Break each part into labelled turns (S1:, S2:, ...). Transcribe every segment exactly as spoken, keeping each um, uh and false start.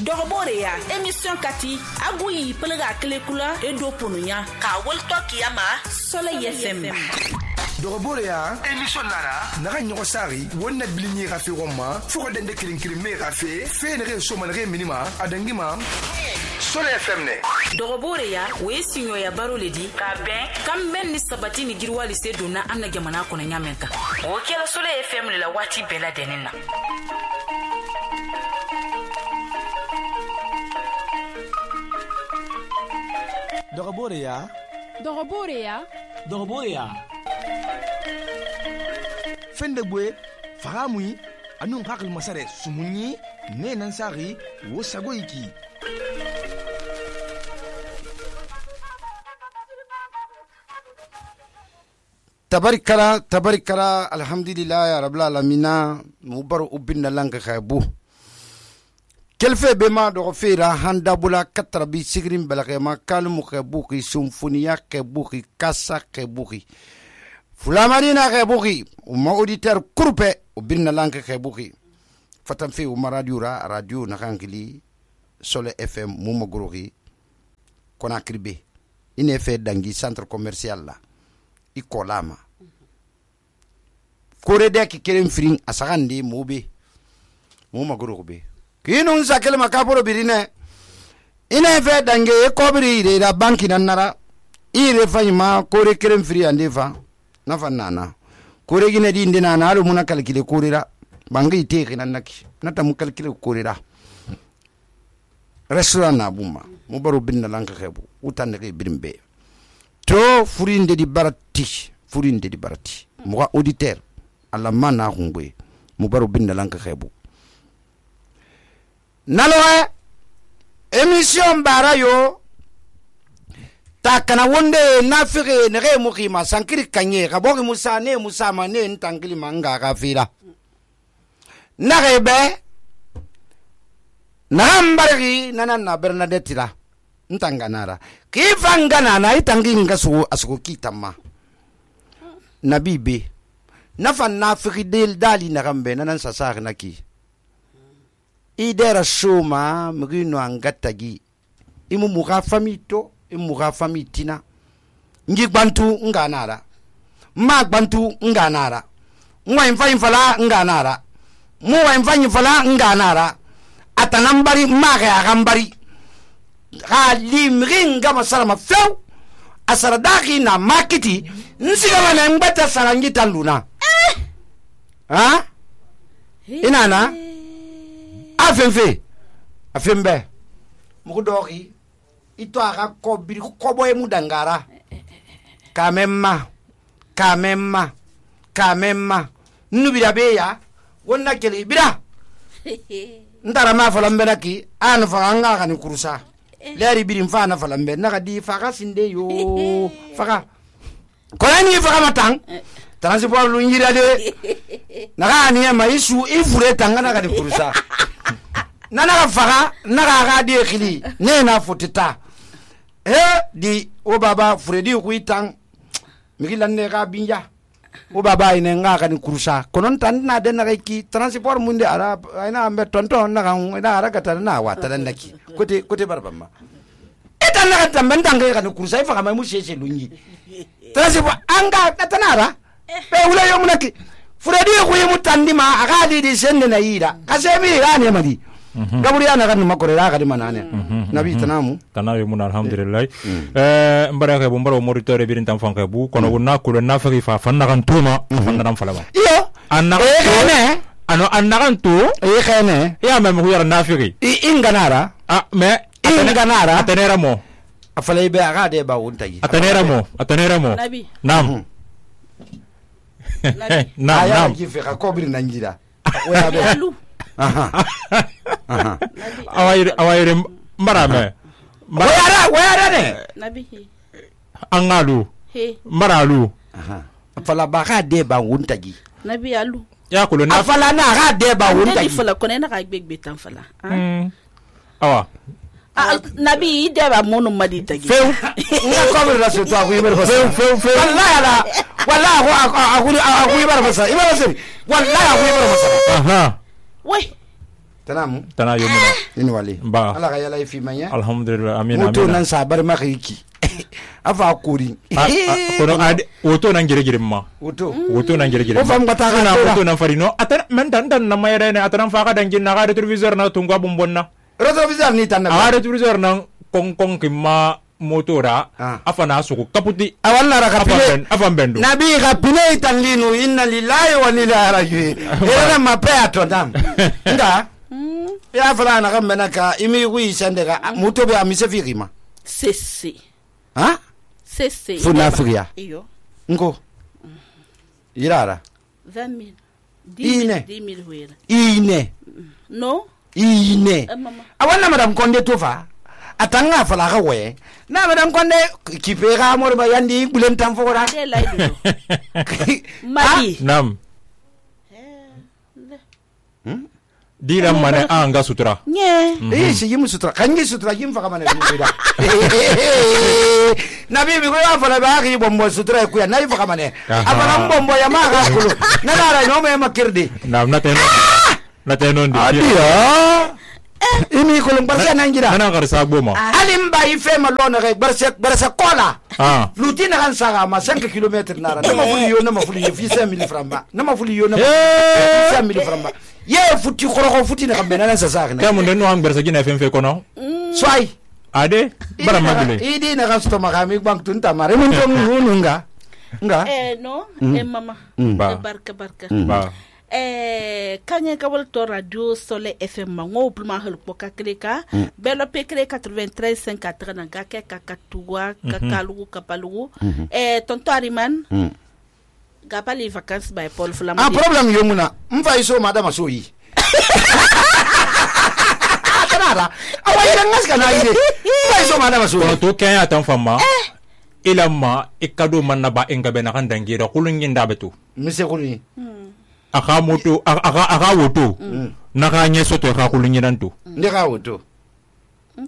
S1: Doroboreya émission kati aguyi pelga kelekula edo ponunya ka wolto kiyama Soleil F M.
S2: Doroboreya émission nara naga nyogo sari wonna bilinyi ga fe gomma fuko dende kilin kilin me ga fe fe ne re so man re minima adangima Soleil F M ne.
S1: Doroboreya we sinyo ya baro ledi ka ben kam men ni sabati ni girwali se dona anna jamana ko na nyamenka. O kela Soleil F M la wati bela denina.
S3: Doroboreya
S4: Doroboreya
S3: Doroboreya Fende bwe fahamui anun hakil masare sumunyi ne nan sari wo sago iki
S5: tabarikala tabarikala alhamdulillah ya rabbil alamin mubaru ubinna langa khaybu kelfe be ma do fera handa bula katrabi sigrin balagema kalmu khabuki symphoniya khabuki kassa khabuki fulamarina khabuki umma auditeur kurpe ubinna langa khabuki fatan fi umma radio ra radio na kankili Soleil F M muma gorogi kona kribe ine fe dangi centre commercial la ikolama kore de ki kerem fring asagandi mobe muma gorobe kinun sakele makaporo birine ine fe dange e kobiri de la banki nanara ire fanyima kore kerem fri ande fa na fanana kore gine di ndina na alu muna kalkile korira bangi teki nanaki nata mu kalkile korira restaurant na buma mu baro binna lanka xebu utanne ke birimbe to furinde di barati furinde di barati mu ga auditeur alla mana xungwe mu baro binna lanka xebu naloe émission barayo takana wonde nafire nere mu khima sankiri kanye gabogi musa ne musa ma ne ntangili manga ga fira narebe nambari nana na Bernadette la ntanganara kifangana na itangi ngaso asuko kitama nabibe nafan nafiri del dali na gambe nanan sasar naki idera shoma mrino angatagi imu muga famito imu muga famitina ngi bantu nganara ma bantu nganara mwa imfanyi fala nganara mwa imfanyi fala nganara atanambari mage agambari halimringa masarama flow asaradaki na makiti nsiga na mbata sarangita luna eh ha inana afenfe afembe mukudoki ito aka kobiri koboye mudangara kamemma kamemma kamemma nubira beya wonna kele bira ndara ma falambe naki an fanga kan kurusa lari birim fa na falambe naka di faga sinde yo faga kolani faga matang transport lu ngira de naka ni ma isu ifure tangana kan kurusa nana faga naka ga de khili ne na fotita eh di o baba fredi ku itang migilan ne ga binja o baba ine nga kan kurusa konon tan na de na ki transport munde ara ina ambe tonton na kan ina ara kata na wata dan naki kote kote barbamma eta na kata mendange kan kurusa ifa kama mu sheshe lunyi transport anga tatanara be wula yo munaki fredi ku yimu tandima aga di di sende na ira kasemi ga ne madi gaburi ana kan makorera ga di manane nabi tanamu
S6: tanayo mun alhamdulillah eh mbara ka bombaro moritore birin tan fanka bu kono wonna ko na fa fa fanna kan tuma fanna dan falama
S5: iyo
S6: anna
S5: ne
S6: ano anna kan tu
S5: e khane
S6: ya me mu yara nafiri
S5: i inganara
S6: ah me
S5: inganara
S6: atenera mo
S5: afalay be aga de ba wontayi
S6: atenera mo atenera mo
S1: nabi
S6: nam nam
S5: aya
S6: nam
S5: ki fe ka kobri nanjira oya be aha aha
S6: awayre awayre marame
S5: wayara wayara ne
S1: nabi
S6: angalu
S1: he
S6: maralu
S5: aha afala ba ga de ba wontayi
S1: nabi alu
S6: ya ko na
S5: afala na ga de ba wontayi
S1: fala ko ne na ga gbegbe tan fala
S6: awa
S1: nabi de ba monu madi tagi
S5: feu nga kobri la so to aku ibar fasa feu feu wallahi ala wallahi aku aku aku ibar fasa ibar fasa wallahi aku ibar fasa
S6: aha
S1: we
S5: tanamu
S6: tana yomuna
S5: ini wali
S6: ba
S5: ala ka yala ifi manya
S6: alhamdulillah amina
S5: moto nan sa bar maka yiki afa kuri
S6: kono ade woto nan gire gire ma
S5: woto
S6: woto nan gire gire
S5: o fam gata
S6: na
S5: kana
S6: woto nan farino atan men dan dan na mayere ne atan fa ka dangin na ga retroviseur na tunga bombonna
S5: retroviseur ni tan na
S6: a retroviseur nan kon kon kimma motora afana suku kaputi
S5: awalla raka pine
S6: afan bendo
S5: nabi ka pine tan linu inna lillahi wa inna ilaihi raji'un era ma pe atodam nga ya fala na kan menaka imi wi sende ka moto be amise firima
S4: sese
S5: ha
S4: sese
S5: funa firia
S4: iyo
S5: ngo irara
S4: vingt mille
S5: ine
S4: dix mille huela
S5: ine
S4: no
S5: ine
S4: Eh, mama.
S5: awalla madam konde tofa atanga fala ka we na madam konde kipe ga mor ba yandi bulen tan fora
S4: de laido madi
S6: nam dira mane anga sutura
S4: nye
S5: eh si yimu sutra kangi sutra yim faka mane bida nabi bi ko ya fala ba ki bombo sutra ku ya nayi faka mane abana bombo ya ma ga kulu na dara no me makirdi
S6: nam na teno na teno ndi
S5: adia imi ko lum barsa nan gida
S6: nana gar sa goma
S5: alim ba ife ma lona ga barsa barsa kola
S6: ah
S5: lutina kan saga ma cinq kilomètres nara na ma fuli yo na ma fuli yo fi cinq mille francs na ma fuli yo na cinq mille francs ye futti khoro futti na kambe na sa saga na
S6: kamu ndeno ang bersa gina fm fe kono
S5: swai
S6: ade bara magule
S5: idi na gasto makami bang tunta mare mun tong nunga nga
S4: eh no eh mama
S6: Ba.
S4: Eh, barka barka
S6: ba
S4: eh kanye kabal to radio Soleil F M mango pluma hel poka kleka belo pe kle quatre-vingt-treize cinq quatre na ga ke kakatuwa kakalugu kapalugu eh tonto Ariman ga pali vacances by Paul Flama
S5: ah problem yo muna mfa iso madama so yi tanara awa ira ngaska na ide mfa iso madama so
S6: kono to kenya tan famma ilamma ikado manna ba engabe na kan dangira kulun yinda betu
S5: mise kuni
S6: aka moto aka aka woto naka nyeso to aka kulun yidanto
S5: ndeka woto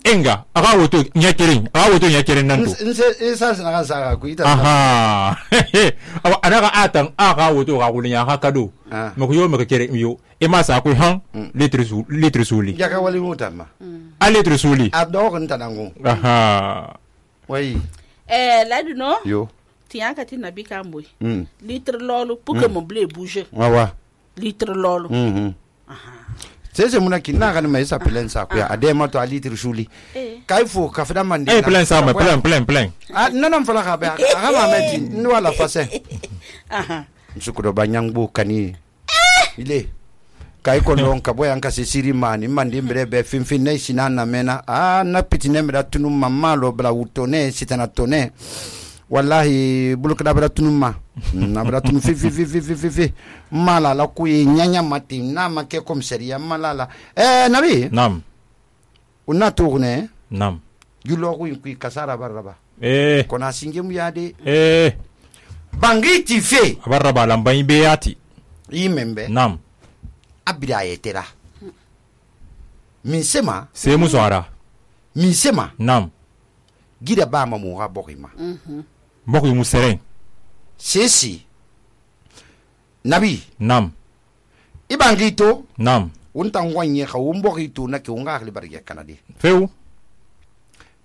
S6: enga aka woto nyakirin aka woto nyakirin nanto
S5: nse isa na kan saga ku ita
S6: aha awa anaka atan aka woto aka kulun aka kado
S5: Ah.
S6: mako yo mako kere yo e ma sa ku han litre su litre suli
S5: jaka wali mutama
S6: a litre suli
S5: a do ko ntanango
S6: aha
S5: wai
S4: eh ladu no
S5: yo
S4: tiyan ka ti nabi ka moy
S5: mm
S4: litre lolu pour que mon blé bouge
S5: wawa
S4: litre lolu
S5: mhm sese muna kinna kan mai sa plan sa ku ya ade ma to ali trusuli
S4: eh
S5: kai fo ka fada mandi
S6: eh plein ça mais plein plein plein
S5: ah nanam fala ka ba aga ma meti ni wala fase
S4: aha
S5: msukudo banyangbu kani ile kai ko non ka boyan ka se siri mani mandi mbere be finfin ne sinana mena ah na pitine mera tunu mamma lo bla wutone sitana tone wallahi bulukada bra tunu ma na bra tunu fi fi fi fi fi fi mala la ku nyanya mati na ma ke komisaria mala eh nabi
S6: nam
S5: una tourne
S6: nam
S5: julo ku ku kasara baraba
S6: eh
S5: kona singem yade
S6: eh
S5: bangi ti fe
S6: abarra balam bayi beyati
S5: yimembe
S6: nam
S5: abira yetera min sema
S6: sai musu ara
S5: min sema
S6: nam
S5: gida ba ma mu ha bokima
S6: mbok yu museren
S5: sesi nabi
S6: nam
S5: ibangito
S6: nam
S5: unta ngwanye ka umbokito na ke unga khali barge kanadi
S6: feu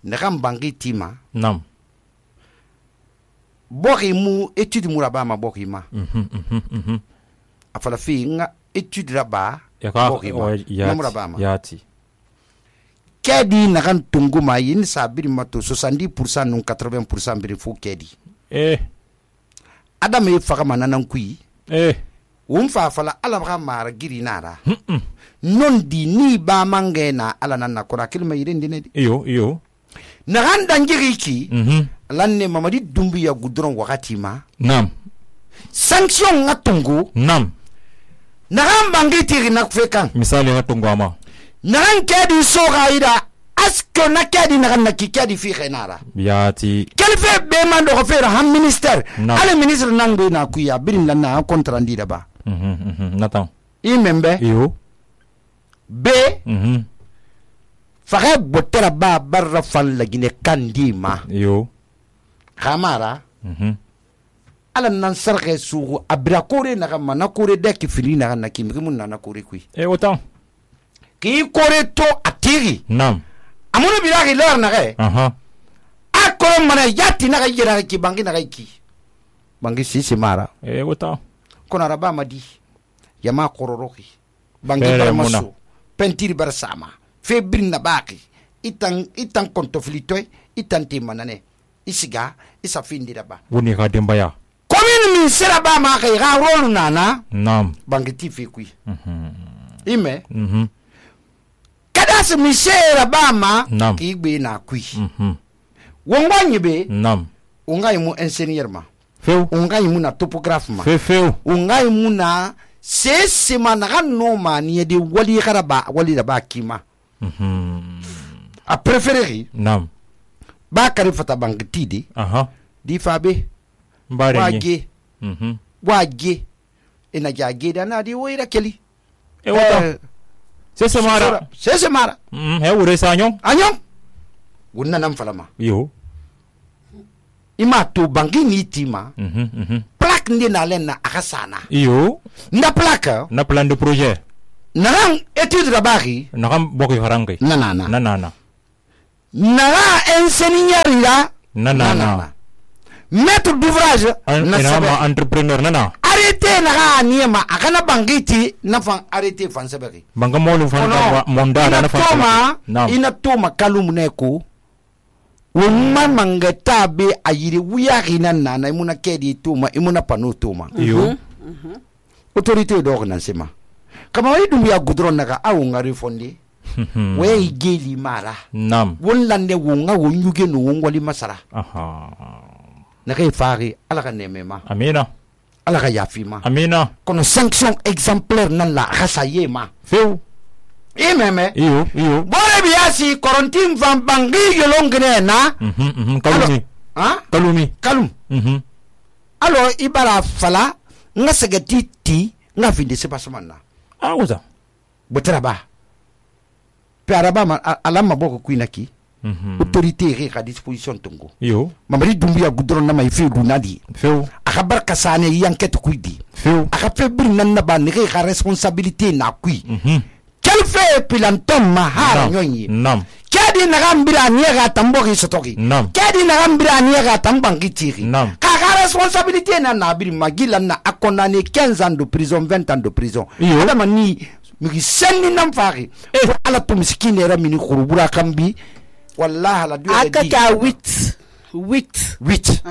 S5: ne kam bangitima
S6: nam
S5: boki mu etude mu raba ma bokima
S6: mhm mhm mhm
S5: afala fi nga etude raba
S6: ya ka
S5: bokima mu raba ma
S6: yati
S5: kedi na kan tunguma yin sabiri mato soixante-dix pour cent non quatre-vingts pour cent biri fu kedi
S6: eh
S5: adam e faga mananan kui
S6: eh
S5: won fa fala ala ba mara giri nara non di ni ba mangena ala nan na kora kilma yirin dine
S6: iyo iyo
S5: na kan dangiri ki
S6: mhm
S5: lanne mamadi dumbi ya gudron wakati ma
S6: nam
S5: sanction ngatungu
S6: nam
S5: na kan bangiti na fekan
S6: misali hatungama
S5: na kan kedi soga ida asko na kedi na kan na kedi fi khenara
S6: yati
S5: kelfe be man do fera ham minister
S6: No.
S5: ale ministre nango na kuya birin lan na contrat ndida ba
S6: mhm mhm natan
S5: imembe
S6: iyo
S5: be
S6: mhm
S5: fare botera ba barra fan la gine kandima
S6: iyo
S5: khamara
S6: mhm
S5: ala nan sarge sugu abra kore na kama na kore de ki fili na na kimi mun na na kore kui
S6: eh autant
S5: ki kore to atiri
S6: nam
S5: amuna bilaki lor na ge
S6: aha
S5: akoro mana yati na ga yira ki bangi na ga ki bangi sisi mara
S6: e wota
S5: kono araba madi yama kororoki bangi
S6: Fere
S5: bara
S6: muna.
S5: maso pentiri bara sama febrin na baki itan itan kontoflitoy itan te manane isiga isa findi daba
S6: woni ka dembaya
S5: komin min sera ba ma kai ga rolu nana
S6: nam
S5: bangi ti fe kui
S6: mhm
S5: ime
S6: mhm
S5: kada se mi sera ba ma
S6: Nam.
S5: ki gbe na kui
S6: mhm
S5: wonga nyibe
S6: nam
S5: unga yimu ingénieur ma
S6: few
S5: unga yimu na topographe ma
S6: fe few
S5: unga yimu na sese ma na no ma ni de wali gara ba wali da ba kima
S6: mhm
S5: a préférer
S6: nam
S5: ba kare fata bangi tidi
S6: aha
S5: di fabe
S6: mbare ni
S5: wage
S6: mhm
S5: wage ina jage da na di woira keli
S6: e wota sese mara
S5: sese mara
S6: mhm he wure sanyo
S5: anyo wunna nan falama
S6: yo
S5: ima to bangi ni tima
S6: mhm mhm
S5: plaque ndi na len na akasana
S6: yo
S5: nda plaque
S6: na plan de projet
S5: naran étude da bari
S6: na kam bokki harange
S5: na na na
S6: na na na
S5: nara ingénieur ya
S6: na na na
S5: maître d'ouvrage na
S6: ina
S5: sabe
S6: ma entrepreneur na na
S5: arrêté naga niema akana bangiti na fan arrêté fan sabari
S6: banga molu fan ka monda na fan
S5: toma
S6: nam
S5: ina toma kalum neko wumma mangata be ayiri wuya hina nana imuna kedi toma imuna pano toma
S6: yo
S5: autorité do nan sema kama wai dum ya gudron naga awu ngari fondi we geli mara
S6: nam
S5: wonlande wonga wonyuge no wongoli masara
S6: aha
S5: naga fari ala ka nemema
S6: amina
S5: ala ka yafima
S6: amina
S5: kono sanction exemplaire nan la rasayema
S6: few
S5: imeme
S6: iyo iyo
S5: bore biasi korontin van bangi yolongene na
S6: mhm mhm kalumi
S5: ha
S6: kalumi
S5: kalum
S6: mhm
S5: alo ibara fala nga segati ti nga finde se pasman na
S6: ah wota
S5: botara ba pe araba ma alama boko kuina ki
S6: mhm
S5: autorité ri ka disposition tongo
S6: iyo
S5: mamari dumbiya gudron na mai fe dunadi
S6: few
S5: aka barka sane yanket kuidi
S6: few
S5: aka fe bir nan na ba ni ka responsabilité na kui
S6: mhm
S5: quel fait pilantom ma hara nyonyi
S6: nam
S5: kedi na gambira ni ga tambo ki sotoki
S6: Nam.
S5: kedi na gambira ni ga tambang ki tiri
S6: Nam.
S5: ka ka responsabilité na na bir magila na akondane quinze ans de prison vingt ans de prison
S6: Iyo.
S5: adama ni mi senni nam fari e ala to miskine ra mini khurubura kambi wallahi la du
S4: akata huit huit
S5: huit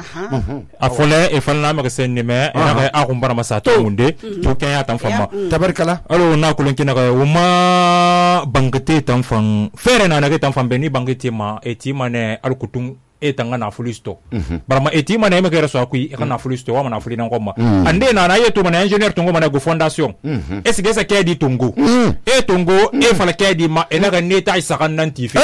S6: a fole e falna ma sen me ina ga a kumbara masa to munde to ken ya tan famma
S5: tabarkala
S6: alo na kulun kina ga uma bangate tan fan fere na na ga tan fan beni bangate ma e ti mane al kutun e tanga na fulisto barama e ti mane me ga raso akui e kana fulisto wa na fulina ngoma ande na na ye to mane engineer to mane go fondation e sige sa ke di tungu e tungu e fala ke di ma e na ga ne ta isa kan nan tifi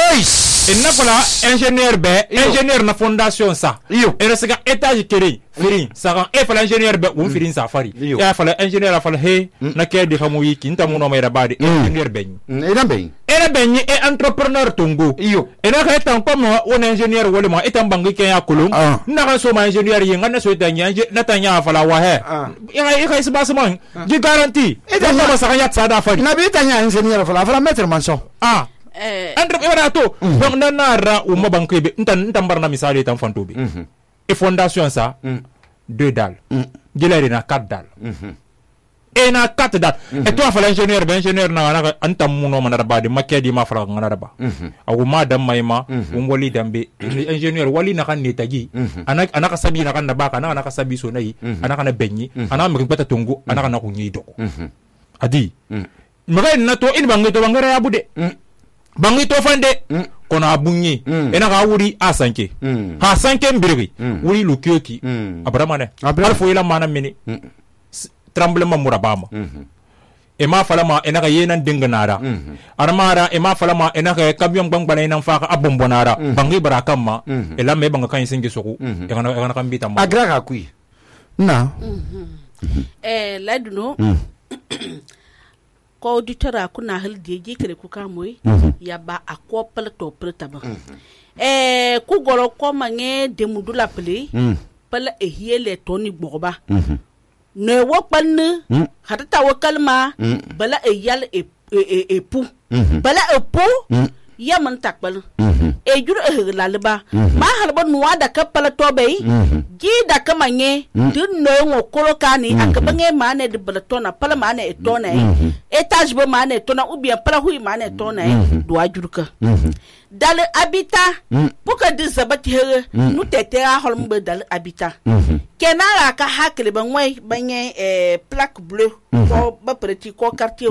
S6: inna fala ingénieur be ingénieur na fondation sa
S5: Iyo.
S6: e resga étage kere firin sa e fala ingénieur be won firin sa fari
S5: Iyo.
S6: e fala ingénieur fala he na ke di xamu yi kinta mu no may rabade ingénieur be
S5: ina be
S6: ere be ni e entrepreneur tungu
S5: Iyo.
S6: e na ka tan comme on ingénieur wala ma etan bangi ke ya kulum
S5: Ah.
S6: na ka so ma ingénieur yi ngana so ta nya na ta nya fala wa he
S5: Ah.
S6: e ga e ga isba sama ji garantie e
S5: Ita
S6: ta
S5: nya-
S6: ma sa ya tsada fari
S5: na bi tanya ingénieur fala fala maître manson
S6: ah
S4: eh
S6: andre ibara to donc na nara o mabanke be ntan ntan barna misali tan fantobe e fondation ça deux dalles gelere na quatre dalles e na quatre dalles e to fa l'ingénieur ben ingénieur na na antam muno manara bade makedi ma fara ngana ba awu ma dam mayma um wali dambe ingénieur wali na kan netagi anak anaka sabi na kan na baka na anaka sabi so nayi anaka na benyi anaka mi bata tungu anaka na kunyi doko adi maga na to in bangi to bangara ya bude bangi to fande kono abunyi ena ga wuri asanke ha sanke mbirigi wuri lukyoki abramane
S5: Abra-
S6: alfo ila mana mini S- tremblement murabama e ma falama ena ga yenan dinganara armara e ma falama ena ga camion bangbana ina faka abombonara bangi barakamma e la me banga kan singi soku e kana e kana kambita mo
S5: agra ka kui na
S4: eh laduno ko auditora kuna hal deji kare ku kamoi ya ba akopal to preta ba eh ku goro ko mange de mudula ple pala e hiele toni gboba ne wo panne hata ta wo kalma bala e yal e époux bala époux ya man takbal e juro e lalba ma halba nuwa da kapala tobe gi da kamanye dun no ngo kolokani akabange mane de balatona pala mane e tona etage ba mane tona ou bien pala hui mane tona do ajurka dal habitat puka di zabati here nu tete a holmbe dal habitat kenara ka hakle ba ngwai banye e plaque bleue ko ba preti ko quartier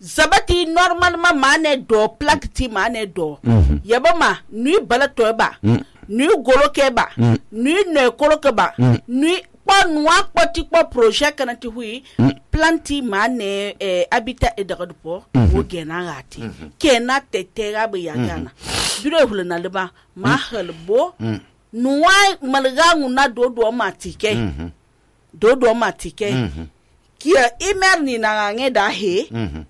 S4: zabati normalement mane do plaque ti mane do mm-hmm. yaba ma nui balato ba mm. nui goloke ba mm. nui ne koloke ba mm. nui pa noa poti po projet kana ti hui mm. planti mane eh, habitat e daga po mm-hmm. wo gena ngati mm-hmm. kena tetera ba yagana dure hulana leba ma halbo mm. noa malga nguna do do matike mm-hmm. do do matike mm-hmm. kia imer ni na nge da he mm-hmm.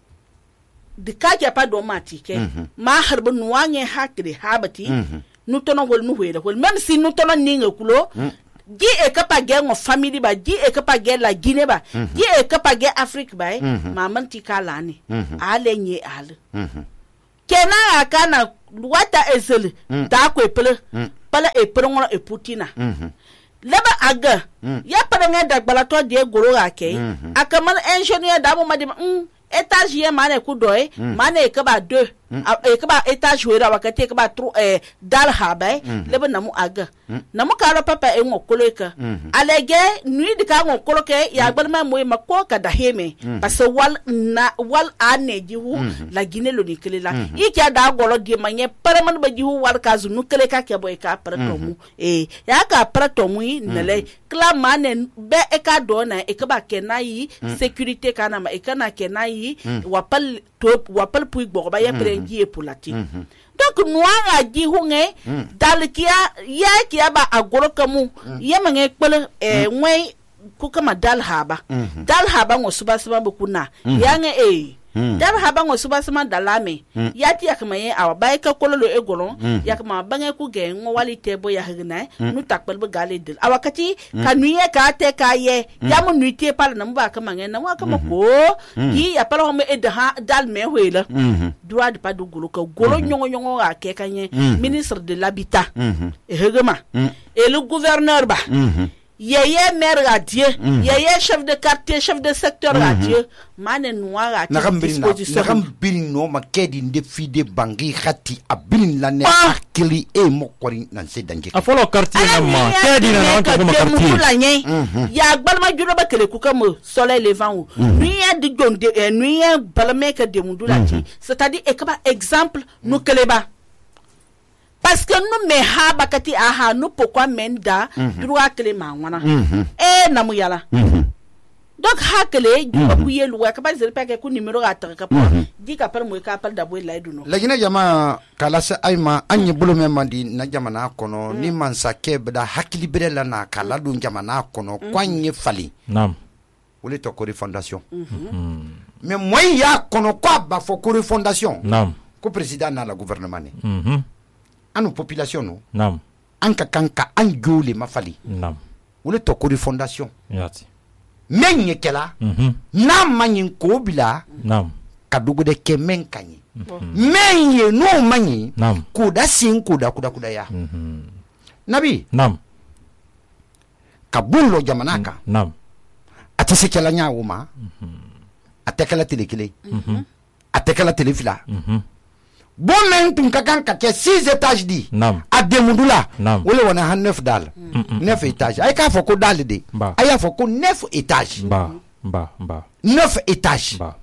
S4: de kaja pa do matike mm-hmm. ma harbu nuwange hakri habati mm-hmm. nu tono hol nu wera hol même si nu tono ninga kulo mm-hmm. di e kapa ge ngo family ba di e kapa ge la Guinée ba mm-hmm. di e kapa ge Afrique ba mm-hmm. ma manti kalani mm-hmm. ale nye ale mm-hmm. kena akana wata ezeli mm-hmm. da ko epele mm-hmm. pala epele ngolo eputina mm-hmm. leba aga mm-hmm. ya pala ngada gbalato de goro ake mm-hmm. akaman engineer da mo madi mm étage ye mane ku doy mm. mane ke ba deux mm. e ke ba étage wera wakati ke ba tro eh dal habe mm. lebe namu aga mm. namu karo papa e ngokolo ka mm. alege nuit de ka ngokolo ke ya gbalma moy makko ka da heme mm. parce wal na wal ane jihu mm. la Guinée lo nikele la mm. i kya da golo di manye paraman ba jihu wal ka zunu kele ka ke boy ka para tomu mm. e ya ka para tomu nele kla mane be e ka do na e ke ba kenayi mm. sécurité kana ma e kana kenayi Mm. wapal top wapal pui gboba ya prengi e pulati mm-hmm. donc noa di hunge mm. dal kia ya kia ba agoro kamu mm. ya mange kpele e mm. ngwe ku kama dal haba mm-hmm. dal haba ngo suba suba bukuna mm-hmm. ya nge e mm. dal haba ngo suba suba dalame mm. ya ti akama ye awa ba ka kololo e golon mm. ya kama bange ku ge ngo wali tebo ya higna mm. nu takpel be gale dil awakati mm. kanuye ka te ka ye mm. ya mu nuite pal na mba kama nge na wa kama mm-hmm. ko mm. yi ya pal ho me e da dal me hoela mm-hmm. droit de pas de golo ka golo mm-hmm. nyongo nyongo a ke kanye mm-hmm. ministre de l'habitat mm-hmm. e hegema mm. et le gouverneur ba mm-hmm. yeye maire radieux mm-hmm. yeye chef de quartier chef de secteur mm-hmm. radieux mane noir à
S5: disposition nakam bilin no makedi nde fide bangi khati abilin la ne akili e mokori nan se danje
S6: a folo quartier na ma kedi na na ko quartier
S4: ya gbalma julo ba kele ku kam soleil levant nuit de gonde nuit balme ka de mundula ti c'est-à-dire e ka exemple no keleba parce que nous me ha bakati aha nous pourquoi menda droit clé ma wana eh namu yala donc ha clé du ba kuye luwa ka ba zele pa ke ku numéro ata ka pa di ka par mo ka par da boy lay duno
S5: lagina jama kala sa ayma anye bulu me mandi na jama na kono ni man sa kebda hakili berela na kala dun jama na kono kwanye fali
S6: nam
S5: wole to ko fondation mais moi ya kono kwa ba fo ko fondation
S6: nam
S5: ko président na la gouvernement ni
S6: mhm
S5: anu population no
S6: nam
S5: anka kanka anjuli mafali
S6: nam
S5: wole to ko fondation
S6: yati
S5: menye kela
S6: mhm
S5: na manyin ko bila
S6: nam
S5: kadugo de kemen kanyi menye no manyi
S6: nam
S5: kuda sin kuda kuda kuda ya
S6: mhm
S5: nabi
S6: nam
S5: kabulo jamanaka
S6: nam
S5: atese kela nya wuma mhm atekela telekele mhm atekela telefila
S6: mhm
S5: bon men tun ka kan ka ke six étages di
S6: nam
S5: ademudula
S6: nam
S5: wole wana han neuf dal neuf étages ay ka fo ko dal de ay fo ko neuf étages
S6: ba ba ba
S5: neuf étages
S6: ba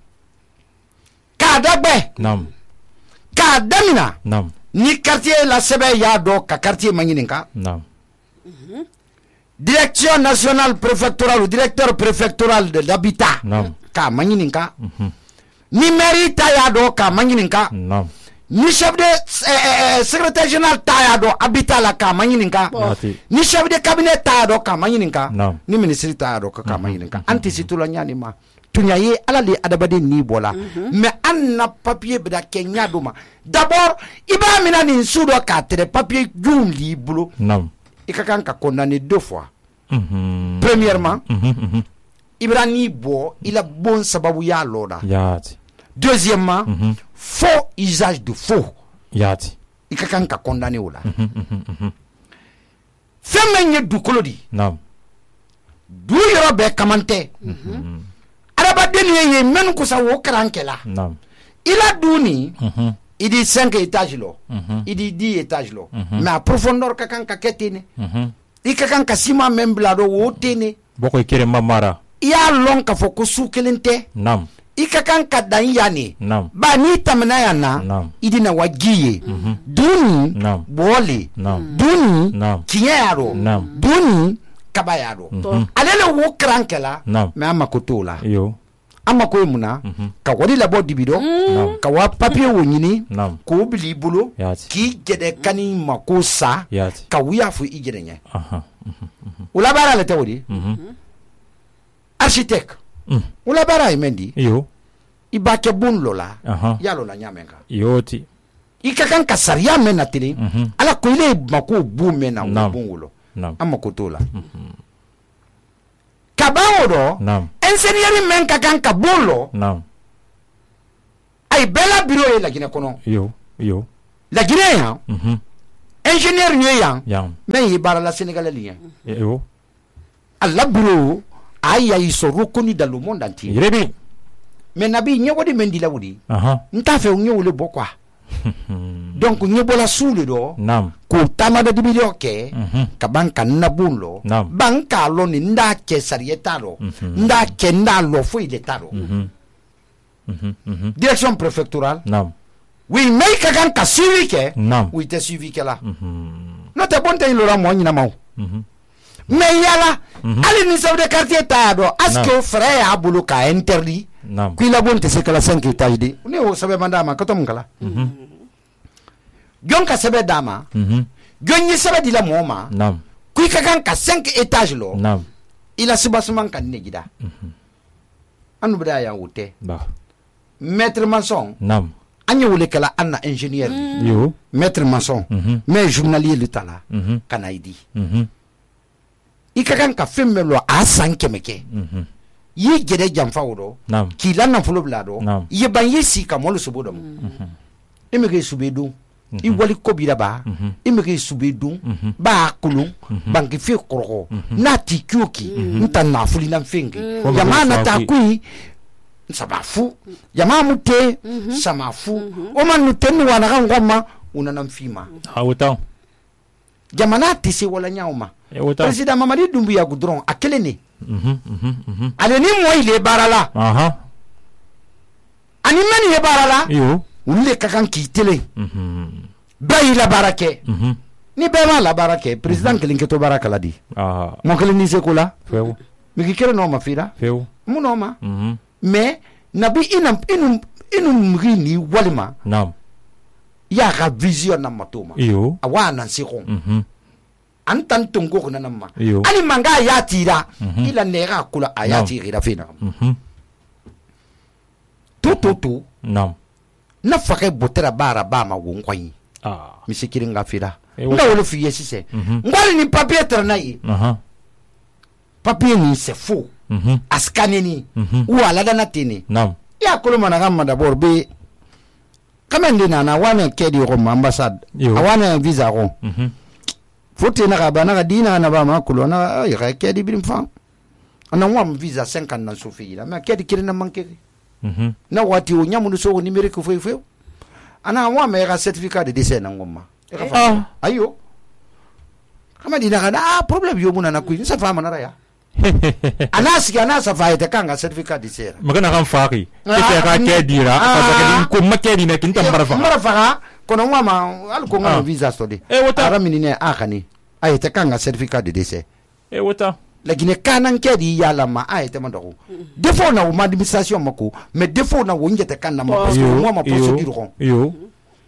S5: ka dagbe
S6: nam
S5: ka damina
S6: nam
S5: ni quartier la sebe ya do ka quartier manyininka
S6: nam
S5: direction nationale préfectorale ou directeur préfectoral de l'habitat
S6: nam
S5: ka manyininka ni mairie ta ya do ka manyininka
S6: nam
S5: ni chef de eh, eh, secrétaire général ta do habitat la ka manyininka ni chef de cabinet ta do ka manyininka
S6: no.
S5: ni ministre ta do ka mm-hmm. manyininka mm-hmm. anti situla nyani ma tunyaye ala le adabade ni bola mm-hmm. mais anna papier beda kenya do ma d'abord iba mina ni sudo ka tere papier jum li bulo
S6: no.
S5: ikakan ka condamné deux fois
S6: mm-hmm.
S5: premièrement
S6: mm-hmm.
S5: ibra ni bo ila bon sababu ya loda
S6: yati
S5: Deuxièmement,
S6: Mhm.
S5: faux usage de faux.
S6: Yati.
S5: I ka kan ka condamné o la. Fɛn min ye dukolo di,
S6: Naam.
S5: du yɔrɔ bɛɛ kaman tɛ. Adamaden ye ye minnu kusa wo karan kɛla.
S6: Naam.
S5: I la du nin,
S6: Mhm.
S5: i di cinq étages lɔ,
S6: Mhm.
S5: i di dix étages lɔ, mais a profondeur ka kan ka kɛ ten ne.
S6: Mhm.
S5: I ka kan ka ciment min bila dɔ wo ten ne.
S6: Boko ikere mamara.
S5: I y'a lɔn k'a fɔ ko su kelen tɛ.
S6: Naam.
S5: I ka kan ka dan yan ne.
S6: Naam.
S5: Ba n'i tɛmɛna yan na,
S6: Naam.
S5: i di na wa ji ye. Du nin,
S6: Naam.
S5: bɔɔli.
S6: Naam.
S5: Du nin,
S6: Naam.
S5: tiɲɛ y'a rɔ.
S6: Naam.
S5: Du nin, kaba y'a rɔ. Ale le wo karan kɛla,
S6: Naam.
S5: mais an mako t'o la.
S6: Yo.
S5: An mako ye mun na? Ka wari labɔ dibi dɔ,
S6: Naam.
S5: ka wa papiye wo ɲini,
S6: Naam.
S5: k'o bila i bolo,
S6: Yati.
S5: k'i jɛdɛ kani mako sa,
S6: Yati.
S5: ka wuya fo i jɛdɛ ɲɛ.
S6: Aha.
S5: O la baara le tɛ o di?
S6: Mhm.
S5: Architecte.
S6: Mm.
S5: O la baara ye mɛn di?
S6: Yo.
S5: I b'a kɛ bon dɔ la,
S6: Aha.
S5: i y'a lɔ na ɲa mɛn kan.
S6: Yoti.
S5: I ka kan ka sariya mɛn na telen,
S6: Mhm.
S5: ala ko ile mako bon mɛn na o
S6: Naam.
S5: bon wolo.
S6: Naam.
S5: An mako t'o la. Ka ban o dɔ,
S6: Naam.
S5: ingénieur mɛn ka kan ka bon lɔ,
S6: Naam.
S5: a ye bɛɛ la bureau ye Laginɛ kɔnɔ.
S6: Yo. Yo.
S5: Laginɛ yan,
S6: Mhm.
S5: ingénieur ye yan,
S6: Yam.
S5: mais ye baara la Sénégalais li yan.
S6: Yo.
S5: A la bureau, a ya ils sont reconnus dans le monde entier.
S6: Yerebi.
S5: Mais nabi ɲɛbɔ de mɛn di la o de.
S6: Aha.
S5: N t'a fɛ u ɲɛ wele bɔ quoi. Donc ɲɛ bɔla su le dɔ.
S6: Naam.
S5: K'o taama da dibi dɔ kɛ.
S6: Mhm.
S5: Ka ban ka n nabon lɔ.
S6: Naam.
S5: Ban k'a lɔ nin n t'a kɛ sariya t'a lɔ. N t'a kɛ n t'a lɔ foyi de t'a lɔ.
S6: Mhm. Mhm. Mhm.
S5: Direction préfectorale.
S6: Naam.
S5: Oui mais i ka kan ka suivi kɛ.
S6: Naam.
S5: O i tɛ suivi kɛla.
S6: Mhm.
S5: N'o tɛ bon tɛ i lɔra mɔgɔ ɲɛnama o.
S6: Mhm.
S5: Mais yala. Hali ni chef de quartier t'a y'a dɔn. est-ce que fɛɛrɛ y'a bolo k'a interdit.
S6: Naam.
S5: Ko i labon tɛ se kala cinq étages de. Ne y'o sɛbɛn man d'a ma ka to mun kala. Jɔn ka sɛbɛn d'a ma.
S6: Mhm.
S5: Jɔn ye sɛbɛn di la mɔgɔ ma.
S6: Naam.
S5: Ko i ka kan ka cinq étages lɔ.
S6: Naam.
S5: I la soubassement ka ne gida. An nu bɛ da yan o tɛ.
S6: Ba.
S5: Maître maçon.
S6: Naam.
S5: An ye wele kala an na ingénieur.
S6: Yo.
S5: Maître maçon.
S6: Mhm.
S5: Mais journalier le ta la.
S6: Mhm.
S5: Ka na i di.
S6: Mhm.
S5: I ka kan ka fɛn bɛɛ lɔ a san kɛmɛ kɛ.
S6: Mhm.
S5: I ye jɛdɛ janfa o dɔ.
S6: Naam.
S5: K'i la nafolo bila a dɔ.
S6: Naam.
S5: I ye ban i ye si ka mɔli sobo dɔ ma. I mɛ k'i sube don. I wali ko b'i la ba. I mɛ k'i sube don. B'a kolon. Banki fe kɔrɔkɔ. N'a ti ki o ki. N ta nafolo na fɛn kɛ. Jama na taa koyi. Saba fu. Jama mu te. Sama fu. O ma nu te ni wana kan kɔ ma. O nana n fi ma.
S6: A wutan.
S5: Jamana tɛ se wala ɲaw ma.
S6: E wutan.
S5: Président Mamadi Doumbouya dɔrɔn a kelen de.
S6: Mhm. Mhm. Mhm.
S5: Ale ni mɔɔ ile baara la.
S6: Aha.
S5: Ani mɛni ye baara la.
S6: Yo.
S5: Olu de ka kan k'i telen.
S6: Mhm.
S5: Bɛɛ y'i la baara kɛ.
S6: Mhm.
S5: Ni bɛɛ m'a la baara kɛ président kelen kɛtɔ baara kala di.
S6: Ah.
S5: Mɔgɔ kelen n'i se ko la.
S6: Fewu.
S5: Mais k'i kɛra n'o ma fira.
S6: Fewu.
S5: Mun n'o ma.
S6: Mhm.
S5: Mais nabi i na i nu i nu mugi ni walima.
S6: Naam.
S5: I y'a ka vision na mato ma.
S6: Yo.
S5: A wa nan se ko.
S6: Mhm.
S5: An tan tongo ko na ma.
S6: Iyo.
S5: Ali manga a y'a tira. I la nɛga kula a y'a tira fe na.
S6: Mhm.
S5: To to to.
S6: Naam.
S5: Na fakɛ botera baara ba ma wo nkɔyi.
S6: Ah.
S5: Misi kelen ka fira.
S6: E
S5: N
S6: wo-
S5: ka wolo f'i ye sisan.
S6: Mhm.
S5: N ko hali ni papier tɛrɛ n'a ye.
S6: Aha.
S5: Papier nin c'est faux.
S6: Mhm.
S5: A scanner ni.
S6: Mhm.
S5: Ou a ladana teni.
S6: Naam.
S5: I y'a kolo mana ka ma d'abord be. Kamen de nana wane kɛ di ko ma ambassade.
S6: Yo.
S5: A wane visa ko.
S6: Mhm.
S5: Fote na ka ba na ka dina na ba ma kolo na ay ka kɛ di birim fan. Ana wa visa cinquante na so fi la mais kɛ di kire na manke.
S6: Mhm.
S5: Na wati o nyamu so numérique fo fo. Ana wa me ka certificat de décès na ngoma.
S6: Ah.
S5: Ayo. Kama di na ka ah problème yo muna na ku ni sa fa mana ya. Ana sigi ana sa fa ite kan ga certificat de décès.
S6: Magana kan faki.
S5: Ah,
S6: Kete ka
S5: ni-
S6: ke dira.
S5: Ah.
S6: Ka ka ko makedi ne kin tambara fa.
S5: Mara fa kono ngwa ma al ko ngwa
S6: Ah.
S5: visa study.
S6: Eh, wata.
S5: Ara minine akani. Ayete kan ga certificat de décès.
S6: E wuta.
S5: Lakini kanan ke di yala ma ayete ma dogo. Defo na wo administration mako, mais defo na wo njete kan na ma parce que moi ma procédure ko.
S6: Yo.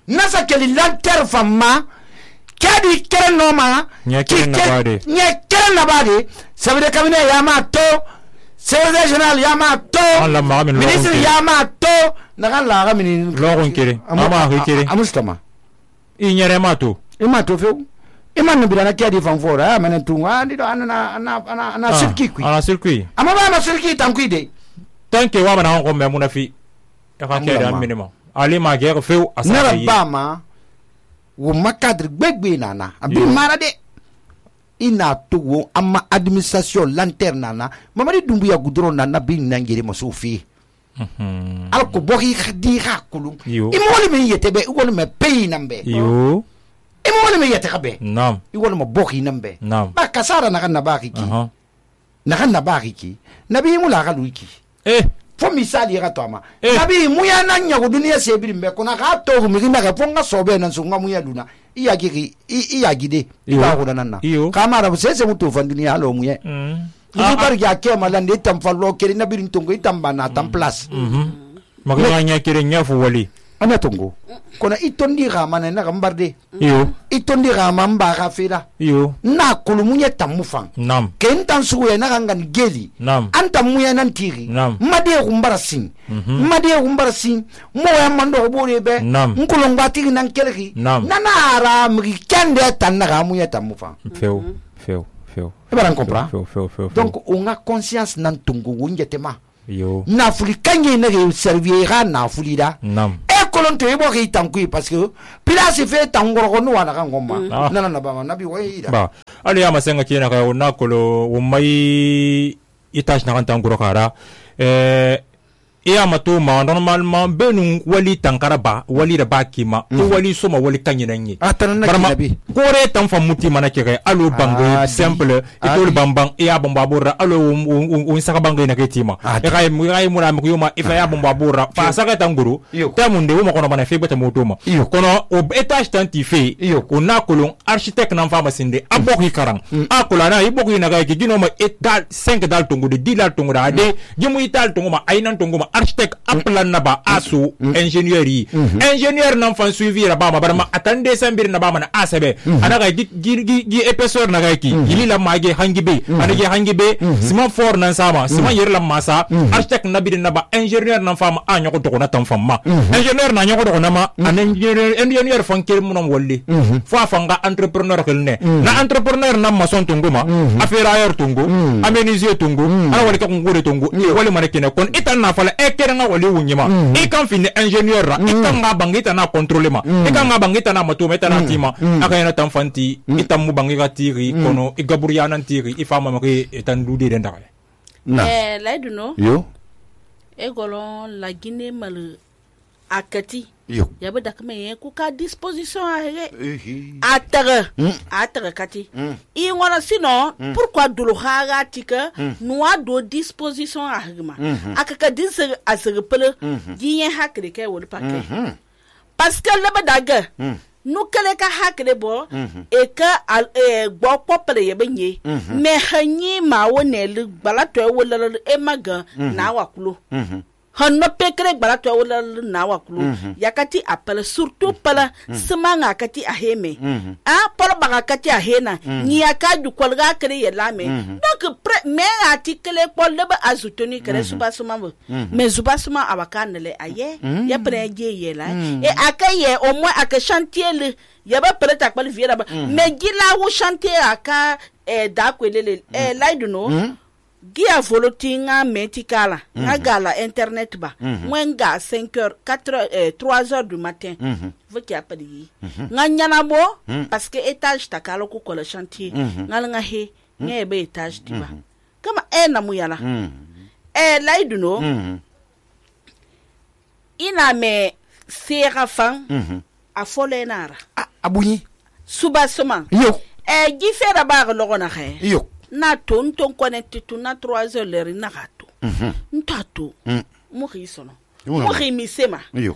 S5: Nasa keli lanter fama kedi kere no ma
S6: Nye kere na bade.
S5: Nye kere na bade. Ça veut dire cabinet yama to, secrétaire général yama to,
S6: Allah ma amin
S5: ministre
S6: logon kere.
S5: yama to, na kan la ga mini
S6: Logon kere. Ama ha kere.
S5: Amustama.
S6: I nyere ma to.
S5: Ima to feu. Ima no bidana kedi fan fora, ah mena tunga ndi do ana ana ana ana sirki kui.
S6: Ana circuit.
S5: Ama ba ma sirki tan kui de.
S6: Tanke wa bana ko me munafi. e ka kɛ da minimum ali ma gɛrɛ few asa
S5: nara bama wo makadre gbegbe nana abi mara de ina to wo amma administration lanterne nana mamadi dumbuya gudron nana bi nangere maso fi al ko boki khadi hakulu imoli me yetebe igol me pay nambe
S6: yo
S5: imoli me yete kabe
S6: nam
S5: igol mo boki nambe
S6: nam
S5: ba kasara na kana baki ki na kana baki ki nabi mula ga luiki
S6: eh
S5: fo misali ga to ama nabi muya nan nya go duniya sebiri mbe kona ga to mi na ga fonga sobe nan so ngamuya duna iya gigi iya gide ba go nan na kamara se se muto fan duniya lo muye ni bar ya ke malande tam fallo keri nabi ntongo itamba na tam place
S6: magana nya kere nya fu wali
S5: ana tongo kona itondi ga mana na gambarde
S6: yo
S5: itondi ga mamba ga fira
S6: yo
S5: na kulumuye tamufan
S6: nam
S5: ken tan suwe na gangan geli
S6: nam
S5: anta muya nan tiri made gumbara sin made gumbara sin mo ya mando bore be nkulon batiri nan kelgi nana ara mi kende tan na ga muya tamufan
S6: feu feu feu
S5: e baran comprend
S6: feu feu feu
S5: donc on a conscience nan tongo wonjetema
S6: yo
S5: na fuli kanye na ge servira na fuli da
S6: nam
S5: kolon to ibo ki tankui parce que place fait tangoro ko no wana kan gomma nana na ba nabi wai da
S6: ba ali ya masenga kina ka na kolo wo mai itash na kan tangoro kara eh iya mato ma normalement benu wali tankara ba wali da ba kima to wali soma wali kanyinan yi barma kore tan famuti mana kire alo bango simple itol bambang iya bamba borra alo un saka bango na ketima e kay mu kay mu na mu yoma ifa ya bamba borra fa saka tanguru tamunde wo kono bana fe beta motoma kono o etage tanti fe ko na kolon architecte nan fama sinde aboki karang akola na iboki na ga gino ma etal cinq dal tongu de dix dal tongu da de gimu ital tongu ma ainan tongu ma architecte aplan naba asu ingénieur yi ingénieur nan fan suivi ra ba ma barma atande sambir na ba ma na asabe anaga gi gi gi épaisseur na ga ki yili la mage hangibe anage hangibe ciment fort nan sama ciment yer la masa architecte nabi na ba ingénieur nan fama a nyoko to na tan famma ingénieur na nyoko to na ma an ingénieur ingénieur fan ker munom wolli fo afanga entrepreneur kelne na entrepreneur nan maçon tunguma affaire tungu aménisier tungu ana wali ka ngure tungu wali manekine kon itan na fala ekere nga wali wunyima e kan fini ingénieur ra e kan nga bangita na contrôler ma e kan nga bangita na mato meta na tima aka yana tan fanti itam mu bangika tiri kono e gaburia nan tiri e fama ma ke etan dude den dara
S4: eh laiduno yo e golon la Guinée mal akati yo yabe dakme ye ku ka disposition a he atare atare kati i wona sino pourquoi dulu haga tika noa do disposition a hegma akaka din se asere pele giyen hakre ke wol paquet parce que le daga nu kele ka hakre bo e ka e gbo popere ye benye me hanyi ma wonel balato e wol e maga na wakulo hanno pekre balato wala na wakulu yakati apala surtout pala semanga kati aheme ah pala baga kati ahena ni akaju kolga kre yelame donc me article pol de azutoni kre subasuma mais subasuma abakanele aye ya preje yela e akaye au moins aka chantier le yaba prêt à qualifier là mais gila wo chantier aka e da kwelele e laiduno Gia volotinga metikala nga gala internet ba mwenga cinq heures quatre heures euh, trois heures du matin vous qui appelez nga nyana bo parce que étage takalo ko ko le chantier nga nga he nga be étage tiba kama e na muyala e laiduno ina me serafan a folenara
S5: abunyi
S4: subasoma
S5: yo
S4: e gifera ba lo na he
S5: yo
S4: na to nton connecté tu na trois heures l'heure na gato ntato mo ri sono mo ri misema
S5: yo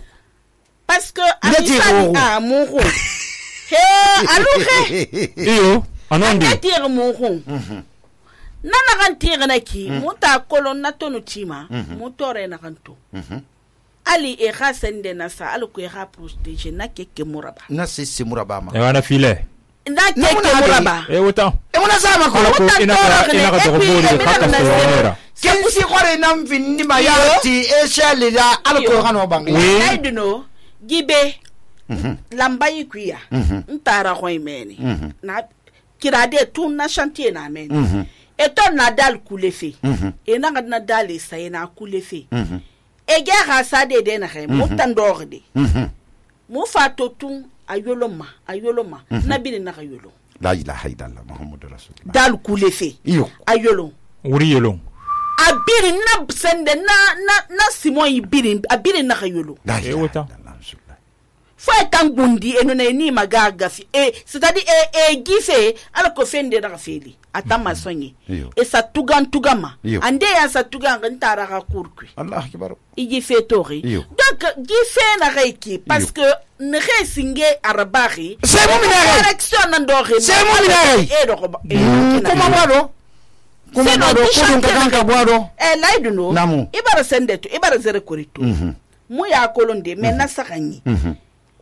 S4: parce que ami a mon ro he aluhe
S6: yo anondi
S4: a tire mon ro na na kan tire na ki mo ta kolon na to no tima mo tore na kan to ali e rasende na sa ali ko e rapproche na keke muraba
S5: na se se muraba ma
S6: e wana file
S4: na keke muraba
S6: e wuta
S5: e wona sama ko
S6: ina ka ina ka to bori ka ka sonera
S5: ke si gore nam finni ma ya ti e shele da alko kano bangi
S4: ai dino gibe lamba yikuya ntara ko imeni na kirade tun na chantier na men e to na dal kulefe e na na dal sa e na kulefe e ge ga sa de de na he mo tan dor de mo fa to tun ayoloma ayoloma na bi na ayolo
S5: la ilaha illallah muhammadur rasulullah
S4: dal kulefe
S5: iyo
S4: ayolo
S6: wuri yelo
S4: abiri na sende na na na simon ibiri abiri na ayolo
S6: e wota
S4: fo tan gundi eno na ni magaga fi e c'est-à-dire e e gife ala ko fende na feli atama sonye e sa tugan tugama ande ya sa tugan ntara ka kurkui
S5: allah akbar
S4: igi fe tori donc gife na reiki parce que ne resinge arabari
S5: c'est mon minare
S4: direction na ndore
S5: c'est mon minare
S4: e do ko
S5: comment wado comment wado ko dun ka ka wado
S4: e laidu no ibara sende to ibara zere korito mu ya kolonde mais na sakanyi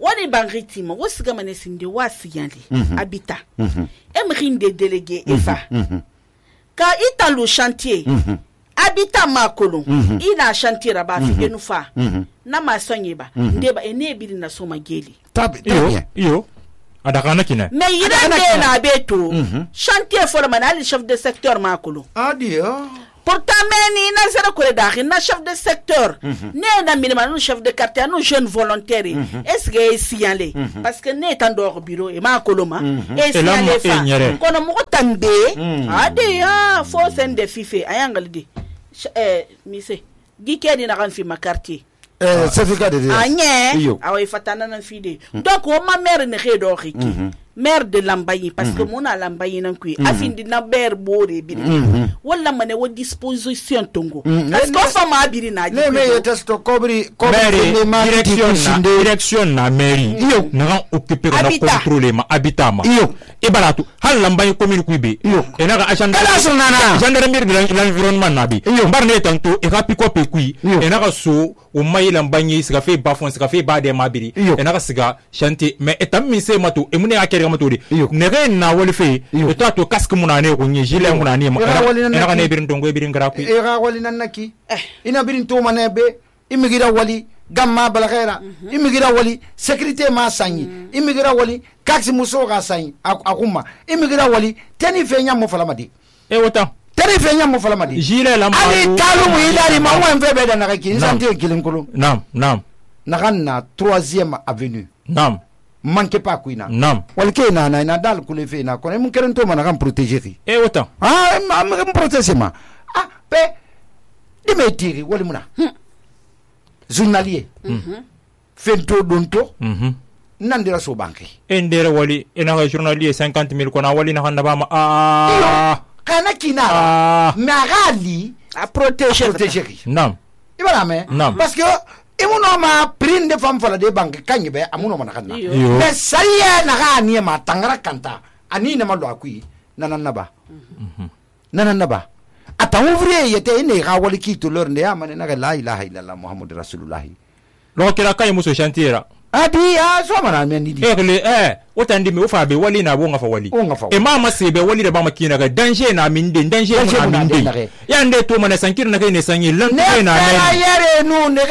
S4: wani bangritima wosiga manesinde wasiyali habita emrinde délégué efa ka italo chantier habita makolo ina chantier raba fi enufa na masonyeba ndeba enebili na soma geli
S5: tabi
S6: iyo iyo adakana kina
S4: me yirande na beto chantier formal ali chef de secteur makolo
S5: adio
S4: pourtant meni na zero kore daxi na chef de secteur ne na minima no chef de quartier no jeune volontaire est-ce que signalé parce que ne tan do bureau e ma koloma e signalé fa kono mo tambe ade ya fo sen de fife ayangal di eh mise gikedi na kan fi ma quartier
S5: eh certificat de
S4: anye awa fatana na fide donc o ma mère ne redo xiki maire de Lambaye parce que mon a Lambaye nan kui afindi na ber bore bi wala mane wo disposition tongo parce que fama abiri na
S5: le me testo kobri
S6: kobri direction na direction na mairie na occuper na contrôler ma habitat ma e baratu hal Lambaye commune kuibe e na ga agenda gendarmerie de l'environnement na bi mbar ne tanto e ka piko pe kui e na ga so o mai Lambaye sika fe bafon sika fe ba de mabiri e na ga siga chantier mais etam mi se mato e mune akere matodi nege na woli fe e to to casque munane ko nyi jile munane ma e na ne birin tongo e birin grafi
S5: e ga wali nan naki ina birin to manebe imigira wali gamma balagera imigira wali sécurité ma sanyi imigira wali kaksi muso ga sanyi akuma imigira wali teni fe nyam mo falamadi
S6: e wota
S5: teni fe nyam mo falamadi
S6: jile la ma
S5: ali talu mu idari ma wan fe be da na ki santé kilinkulu
S6: nam nam
S5: na troisième avenue
S6: nam
S5: manque pas kuina
S6: nam
S5: walke na na na dal kule fe na ko mun keren to mana kan protéger
S6: e wota
S5: ah am protéger ma ah pe di me tiri wali muna journalier mhm fento donto mhm nandira so banque
S6: endere wali ena ga journalier cinquante mille kona wali na handa ba ma ah
S5: kana kina magali a protéger protéger
S6: nam
S5: ibara me parce que imuno ma prinde fam fala de banque kanyi be amuno mana kanna mais sariya na ga ni ma tangara kanta ani ne ma lo akui nanana ba mhm nanana ba ata ouvrier yete ne ga wali ki to lor ne amane na la ilaha illallah muhammadur rasulullah
S6: lo kira kay muso chantiera
S5: adi a so mana men di
S6: ekle eh otandi me ofa be wali na bonga fa wali e mama se be wali da ba makina ga danger na min de danger na min de ya nde to mana sankir na kay ne sanyi lan
S5: ne na yere nu ne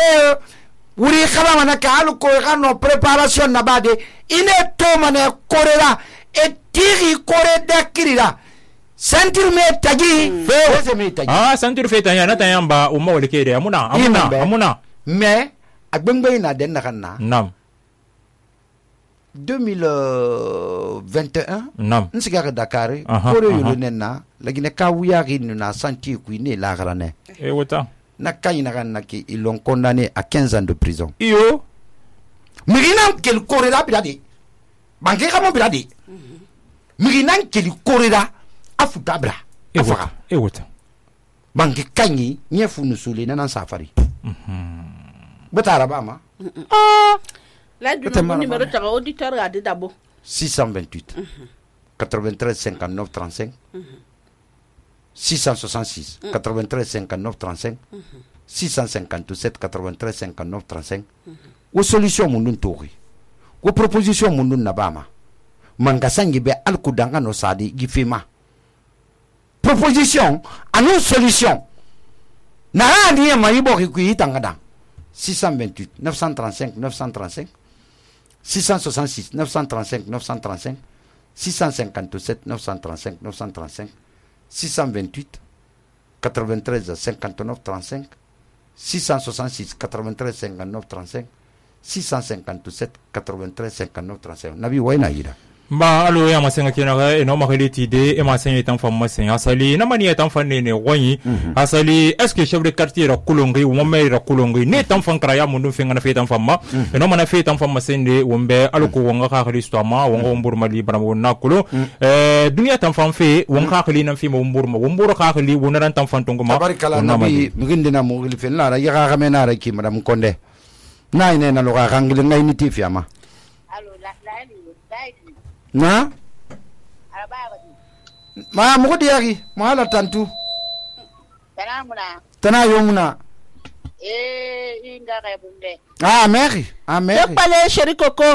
S5: wuri khaba mana ka alu ko gano préparation na bade ine to mana korera e tiri kore dakirira sentir me tagi fe me tagi
S6: ah sentir fe tanya na tayamba o ma wali kede amuna amuna amuna
S5: mais agbengbe na den na kanna
S6: nam
S5: deux mille vingt et un
S6: nam
S5: nsiga ka Dakar kore yulu nenna lagine ka wuya rin na santi ku ne la garane
S6: e wota
S5: na kanyi na kanna ki ils l'ont condamné à quinze ans de prison
S6: iyo
S5: mirina kel korera biladi banke kamo biladi mirina kel korera afuta bra afaka
S6: e wota
S5: banke kanyi nyefu nusuli na safari mhm betara ba ma
S4: ah la du numéro de auditeur a dit d'abord
S5: six cent vingt-huit quatre-vingt-treize cinquante-neuf trente-cinq six cent soixante-six quatre-vingt-treize cinquante-neuf trente-cinq six cent cinquante-sept quatre-vingt-treize cinquante-neuf trente-cinq wo solution mundun tori wo proposition mundun nabama mangasangi be alkudanga no sadi gifema proposition anu solution na ani ma yibo ki kuitangada six cent vingt-huit neuf cent trente-cinq neuf cent trente-cinq six cent soixante-six neuf cent trente-cinq neuf cent trente-cinq six cent cinquante-sept neuf cent trente-cinq neuf cent trente-cinq six cent vingt-huit quatre-vingt-treize cinquante-neuf trente-cinq six cent soixante-six quatre-vingt-treize cinquante-neuf trente-cinq six cent cinquante-sept quatre-vingt-treize cinquante-neuf trente-cinq nabi wayna yira
S6: ba alo ya masenga kina ga eno makhiliti de e masenga tan fam masen asali na mani tan fan ne wani asali est-ce que chef de quartier ra kulongi wo me ra kulongi ne tan fan kara ya mundu fenga na fe tan fam ma eno mana fe tan fam masen de wombe alko wonga ka khristo ma wonga wombur mali bara wonna kulo eh dunya tan fam fe wonga khali nan fi mo wombur ma wombur ka khali wona tan fan tongo ma
S5: tabarikala nabi mugindina mo gili fen la ra ya ga mena ra ki madam konde nay ne na lo ga ngil ngay niti fi ama
S7: alo la la ni
S5: na ma mugo diari ma la tantu
S7: tanamuna
S5: tana yomuna
S7: eh inga ga bunde
S5: ah meri ah meri
S4: yo pale sheri koko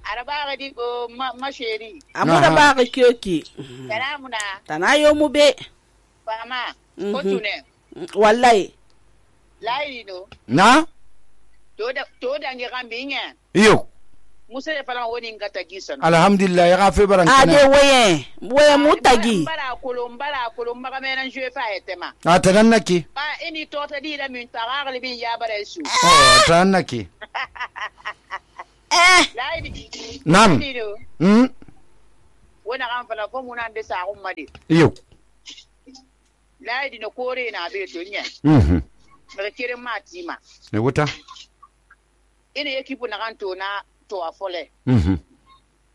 S7: araba ga di ko ma, ma sheri
S4: amuna ba ga kyoki
S7: tanamuna
S4: tana yomu be
S7: fama ko tune
S4: wallahi
S7: lai no
S5: na
S7: to da to da ngi gambinya
S5: iyo
S7: musa ya fala woni ngata gisan
S5: alhamdulillah ya gafe baran kana
S4: ade waye waye mutagi
S7: bara kulum bara kulum maga menan jwe fa etema
S5: a tanannaki
S7: ba ini to ta di da min tagal bin ya bare su
S5: oh tanannaki
S4: eh
S7: lai
S5: nam hmm
S7: wona kan fala ko munan de sa ummadi
S5: iyo
S7: lai dino kore na be to nya
S5: mhm
S7: daga kirin matima
S5: ne wuta
S7: ina yake bu na kan to na to afole
S5: mhm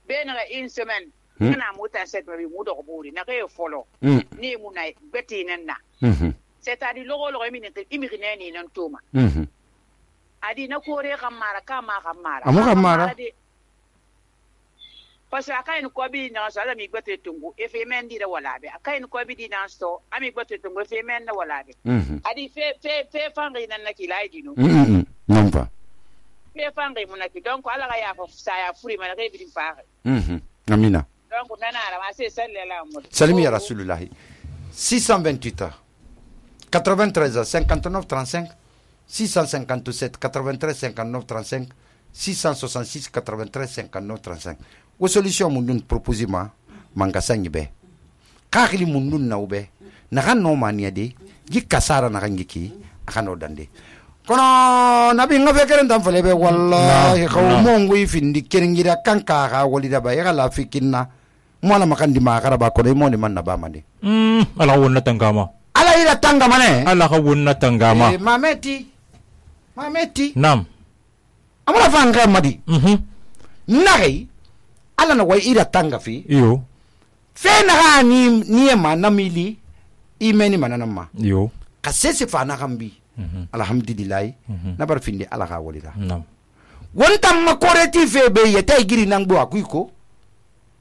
S7: be na in semaine na muta set bi mu do buri na ke folo ni mu na beti nan na
S5: mhm
S7: c'est à dire logo logo mi ne imi ne ni nan toma
S5: mhm
S7: adi na kore kamara kama kamara
S5: amu kamara
S7: parce que akai ko bi na sala mi gbete tungu e fe men di da wala be akai ko bi di na sto ami gbete tungu e fe men na wala be
S5: mhm
S7: adi fe fe fe fangi nan na kilai dino
S5: mhm non pas
S7: fe fangi mun na ki donc ala ga ya fa sa ya furi man ga bi din fa
S5: mhm amina
S7: donc nana ala ma se sallallahu alaihi
S5: salim ya rasulullah six cent vingt-huit quatre-vingt-treize cinquante-neuf trente-cinq six cent cinquante-sept quatre-vingt-treize cinquante-neuf trente-cinq six cent soixante-six quatre-vingt-treize cinquante-neuf trente-cinq wo solution mun dun proposer ma manga sanyi be kakhili mun dun na ube na kan no mania de gi kasara na kan giki akano dande kono nabi nga fekere ndam fale be wallahi xaw mo ngui findi keringira kanka ga wali da ba ya la fikinna mo la makandi ma garaba ko mo ni man na ba mande
S6: mm ala wonna tangama
S5: ala ila tangama ne
S6: ala ka wonna tangama
S5: eh, mameti mameti
S6: nam
S5: amala fanga madi
S6: mhm
S5: ngai ala na wai ira tanga fi
S6: yo
S5: fe na ga ni ni ma na mili imeni manana ma
S6: yo
S5: ka sese fa na gambi mm-hmm. alhamdulillah mm-hmm. na bar finde ala ga walida
S6: nam
S5: wonta ma koreti fe be yeta giri nang bo akuiko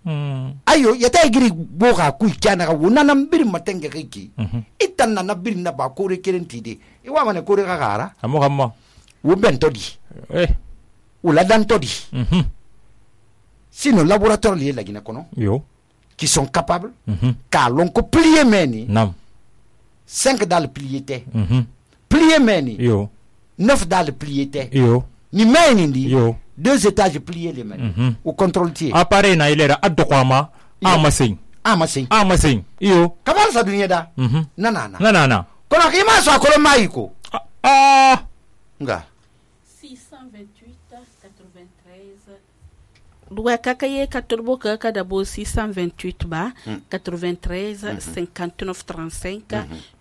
S6: mm
S5: ayo yeta giri bo ga ku kyana ga wona nam bir matenge kiki
S6: mm-hmm.
S5: itan na na bir na ba kore kerenti de e wa mane kore ga gara
S6: amo kamma
S5: wo bentodi
S6: eh
S5: ula dan todi
S6: mhm
S5: sinon laboratoire lié la Guinée kono
S6: yo
S5: qui sont capables
S6: mhm
S5: ka lon ko plier meni
S6: nam
S5: cinq dans le plié te
S6: mhm
S5: plier meni
S6: yo
S5: neuf dans le plié te
S6: yo
S5: ni meni ndi
S6: yo
S5: deux étages pliés les meni
S6: mhm
S5: au contrôle tier
S6: appareil na ilera adokwama amasin
S5: amasin
S6: amasin yo
S5: kamar sa dunia da
S6: mhm
S5: nanana
S6: nanana
S5: kono ki ma so akolo maiko
S6: ah
S5: nga
S4: six cent vingt-huit quatre-vingt-treize Luwa kakaye katurbo kaka dabo six cent vingt-huit ba quatre-vingt-treize cinquante-neuf trente-cinq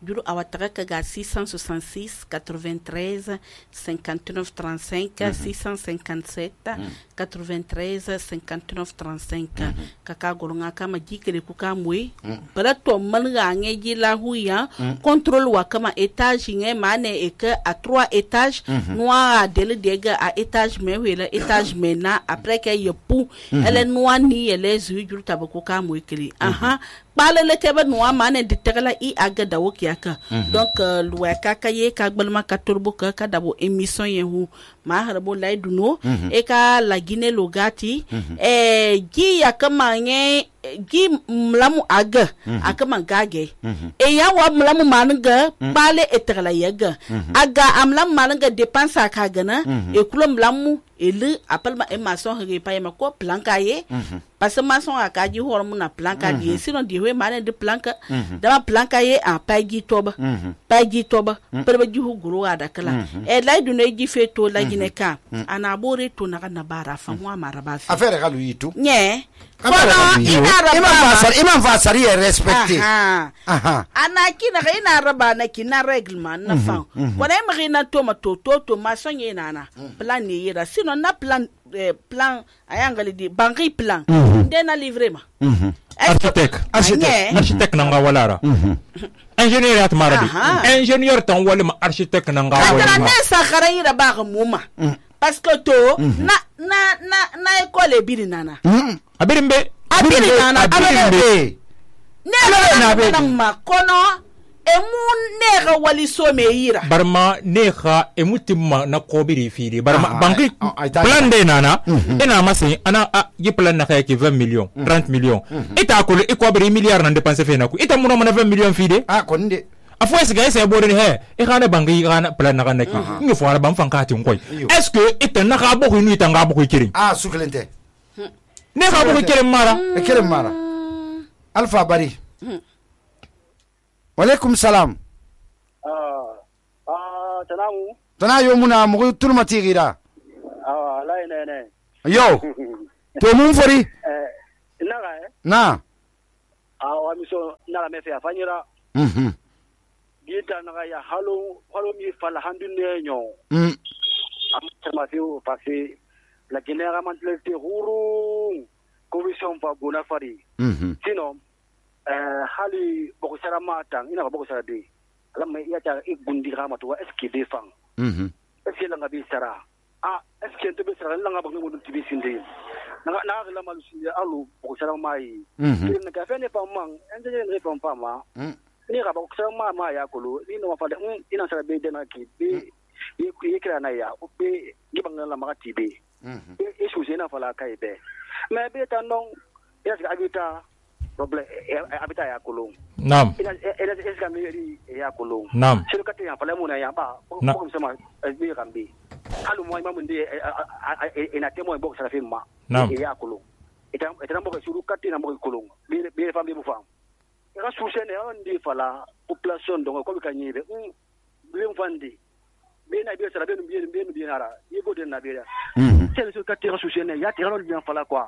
S4: juru awataka kaga six cent soixante-six quatre-vingt-treize cinquante-neuf trente-cinq six cent cinquante-sept quatre-vingt-treize cinquante-neuf trente-cinq kaka golonga kama jikere kuka mwe para to malga ngeji la huya contrôle wa kama étage nge mane eke à trois étages noa dele dega à étage me wela étage mena après que yepu elle noa ni ele zu juru tabako ka mwe kiri aha balele kebe noa mane ditegala i aga dawo kiaka donc luwa kaka ye ka gbalma ka turbo ka ka dabo émission yehu ma harbo lay duno e ka la Guinée logati e gi yakama nge gi mlamu aga akama gage e ya wa mlamu manga bale etegala yaga aga amlam manga dépense aka gana e kulo mlamu ele appelle e maçon he pa ma ko planka ye parce que maçon aka ji hormu na planka di sinon di we mane de planka dama planka ye a paigi toba paigi toba perbe jihu guru ada kala e lay du ne ji fe to la gine ka ana bore to na na bara fa mo amara ba fi
S5: affaire galu yitu
S4: nye
S5: kono imam fasar imam fasar ye respecté
S4: aha ana kina ina raba na kina reglement na fa ko na mi na to ma to to to ma sonye nana plan ni yira sino na plan plan ayangali di bangi plan ndena livrer ma
S6: architecte architecte architecte nanga walara ingénieur at maradi ingénieur tan wala ma architecte nanga wala
S4: ma ne sakhara yira ba muma parce que to na na na na école biri nana
S6: abirimbe
S4: abiri nana
S5: abiri
S4: ne na be ma kono emu nega wali so me yira
S6: barma nega emutimma na kobiri fili barma banki plan de nana ina masi ana yi plan na kayaki vingt millions trente millions ita ko e kobiri milliard na dépenser fe na ko ita muno na vingt millions fide
S5: ah ko nde
S6: afo est-ce que ese bodon he e kana banki kana plan na kana ki ngi fo ala bam fankati ngoy est-ce que ita na ka bokku ni tanga bokku kirin
S5: ah suklente
S6: ne ka bokku kirin mara
S5: e kirin mara alpha bari walaikum salam
S8: ah ah tanamu
S5: tana yo muna mu turma tigira
S8: ah la ne ne
S5: yo to mun fori
S8: eh na ga eh
S5: na
S8: ah wa mi so na la me fe afanyira
S5: mhm
S8: gita na ga ya halo halo mi fala handu ne nyo
S5: mm
S8: am ma fi o passé la genera mantlete ruru commission pa bona fari
S5: mhm
S8: sinon eh hali boko sara matang ina boko sara de lamma ya ta igundi rama to eski de fang
S5: mhm
S8: eski la ngabi sara ah eski to be sara la ngaba ngu tibi sinde na na la malu sinde alu boko sara mai
S5: mhm
S8: ni ka fe ne pa mang enje ne pa pa ma ni ga boko sara ma ma ya kolo ni no fa de ina sara be de na ki be yi yi kira na ya be gibang la ma ti be mhm e su se na fa la kai be me be ta non ya ga abita problem abita ya kolong
S6: nam
S8: ina ina eska meri ya kolong
S6: nam
S8: sero kate ya pala muna ya ba ko sama bi rambi halu mo imamu ndi ina temo bo sara firma ya kolong ita ita mo suru kate na mo kolong bi bi fambi mo fam ira susene on ndi fala population dongo ko ka nyibe um bi mfandi bi na bi sara bi bi bi bi nara yego den na bi ya sero kate ira susene ya tira on fala kwa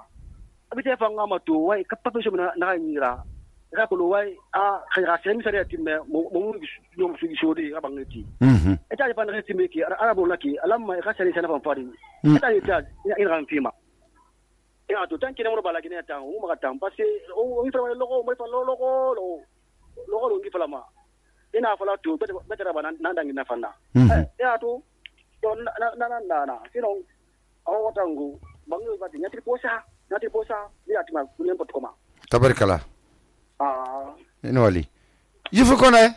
S8: abite fa ngama to wai kapapa so na na nyira ra ko wai a khira sem sare timme mo mo mo su gi shodi ga bangeti mhm eta fa na timme ki arabo laki alamma ga sare sana fa fari eta ita ina ran fima ina to tanki na mo bala gine ta o ma ta parce o mi fa logo mo fa logo lo logo lo ngi fa ma ina fa la to betara ba nan dangi na fa na eh ya to na na na na sino o watangu bangu ba tinya triposa nati posa ni atima kulempo tukoma
S5: tabarikala
S8: ah
S5: ino wali yifu kone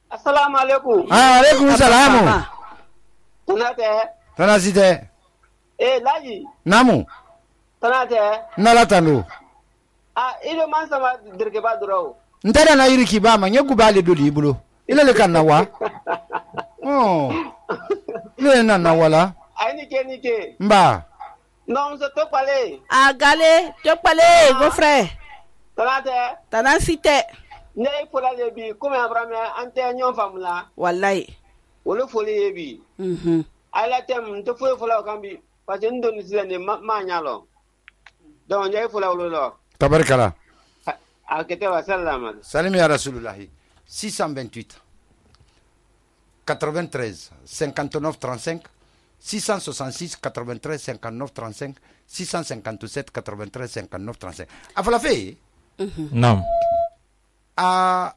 S9: assalamu alaikum
S5: ah alaikum salam
S9: tanate
S5: tanasite
S9: eh laji
S5: namu
S9: tanate
S5: nala tanu
S9: ah ile man sama dirke ba duro
S5: ndara na yiriki ba ma nyegu bale do libulo ile le kan nawa oh ile na nawala
S9: ai ni ke ni ke
S5: mba
S9: non se to pale
S4: agale to pale go frère
S9: tanate
S4: tanasite
S9: ne fola le bi comme abraham ante nyon famla
S4: wallahi
S9: wolo foli bi
S4: mhm
S9: ala tem to fo fola kambi parce que ndoni sile ne ma nyalo donc ne fola wolo lo
S5: tabarikala
S9: akete wa salama
S5: salam ya rasulullah six cent vingt-huit quatre-vingt-treize cinquante-neuf trente-cinq six cent soixante-six quatre-vingt-treize cinquante-neuf trente-cinq six cent cinquante-sept quatre-vingt-treize cinquante-neuf trente-cinq afala fe
S6: nam
S5: a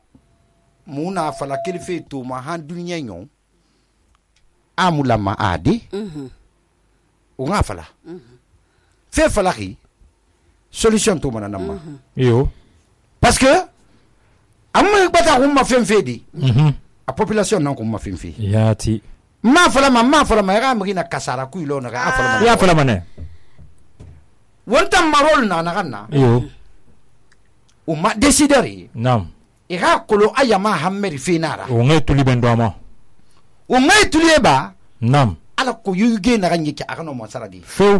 S5: muna fala kelfe to ma han dunya nyon amula ma adi mhm o nga fala mhm fe fala ki solution to mana namma
S6: yo
S5: parce que amma bata ko ma fen fedi
S6: mhm
S5: a population nan ko ma fen fe
S6: yati
S5: ma fala ma ma fala ma ga mi na kasara ku ilo na ga fala ma
S6: ya fala mane
S5: wonta marol na na ganna
S6: yo
S5: o ma decideri
S6: nam
S5: ira kolo ayama hammeri finara
S6: o ngai tuli ben doma
S5: o ngai tuli ba
S6: nam
S5: ala ko yuge na ganyi ki akano mo saradi
S6: fo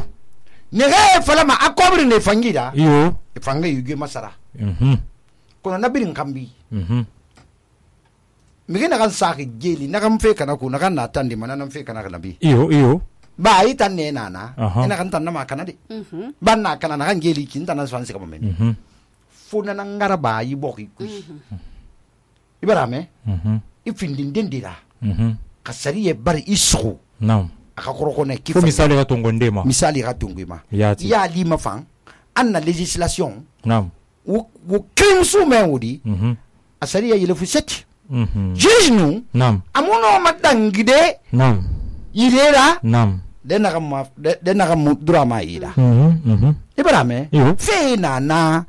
S5: ne ga fala ma akobri ne fangida
S6: yo
S5: fanga yuge masara
S6: mhm
S5: kono nabirin kambi
S6: mhm
S5: migi na kan saki geli na kan fe kana ku na kan na tandi mana nan fe kana nabi
S6: iyo iyo
S5: ba yi tan ne nana
S6: Aha.
S5: ina kan tan na ma kana de
S4: Mhm.
S5: ban na kana na kan geli kin tan na fansi kama men
S6: mhm
S5: funa na ngara ba yi boki ku ibara me
S6: mhm
S5: ifindin dindira
S6: mhm
S5: kasari ye bari isu
S6: nam
S5: aka koroko ne
S6: fo misali ka tongo ndema
S5: misali ka tungu ma
S6: yati
S5: ya li ma fan an na legislation
S6: nam
S5: wo wo crime su men wodi
S6: mhm
S5: asari ya yele fu set
S6: mhm
S5: juge nu
S6: nam
S5: amuno madangide
S6: nam
S5: yirera
S6: nam
S5: de na ma de de na mu dura ma yida
S6: mhm mhm
S5: ibara me
S6: iyo
S5: fe na na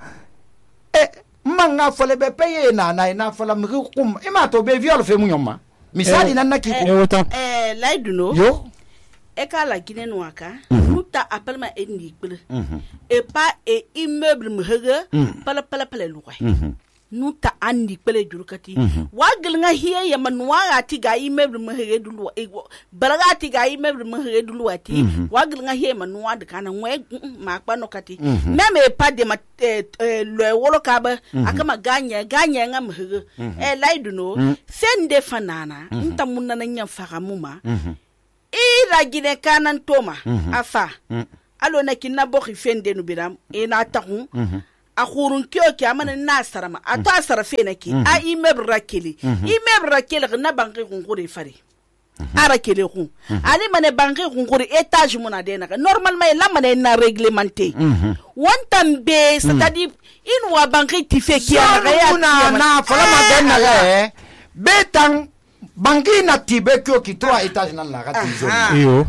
S5: e manga fole be peye na na na fola mi kum e ma to be viol fe mu nyoma misali nan naki
S6: e
S5: ko
S6: wota
S4: Eh, laiduno.
S5: yo
S4: E ka la Guinée noaka. Nuta appelle ma eni kbele. Et pas et immeuble me hege. Pala pala pala louai. Nuta andi kbele jurukati. Wagel nga hiye ya manuwa ati ga immeuble me hege dulu. Balaga ati ga immeuble me hege dulu ati. Wagel nga hiye manuwa de kana ngwe makpa no kati. Même et pas de ma le wolo kaba akama ganya ganya nga me hege. Eh laiduno. Sende fanana. Nta munana nya fagamuma. Ira gine kanan toma afa alo na kinna bokhi fende no biram e na tahu a khurun kyo ki amana na sarama ato asara fe na ki a immeuble rakeli immeuble rakeli na banki kunkuri fari ara kele khu ali mane banki kunkuri étage mona de na normalement la mane na réglementé wontam be c'est-à-dire in wa banki ti fe ki
S5: ya na na fola ma den na le betang banki na tibe kyo ki trois étages nan la gati zone
S6: iyo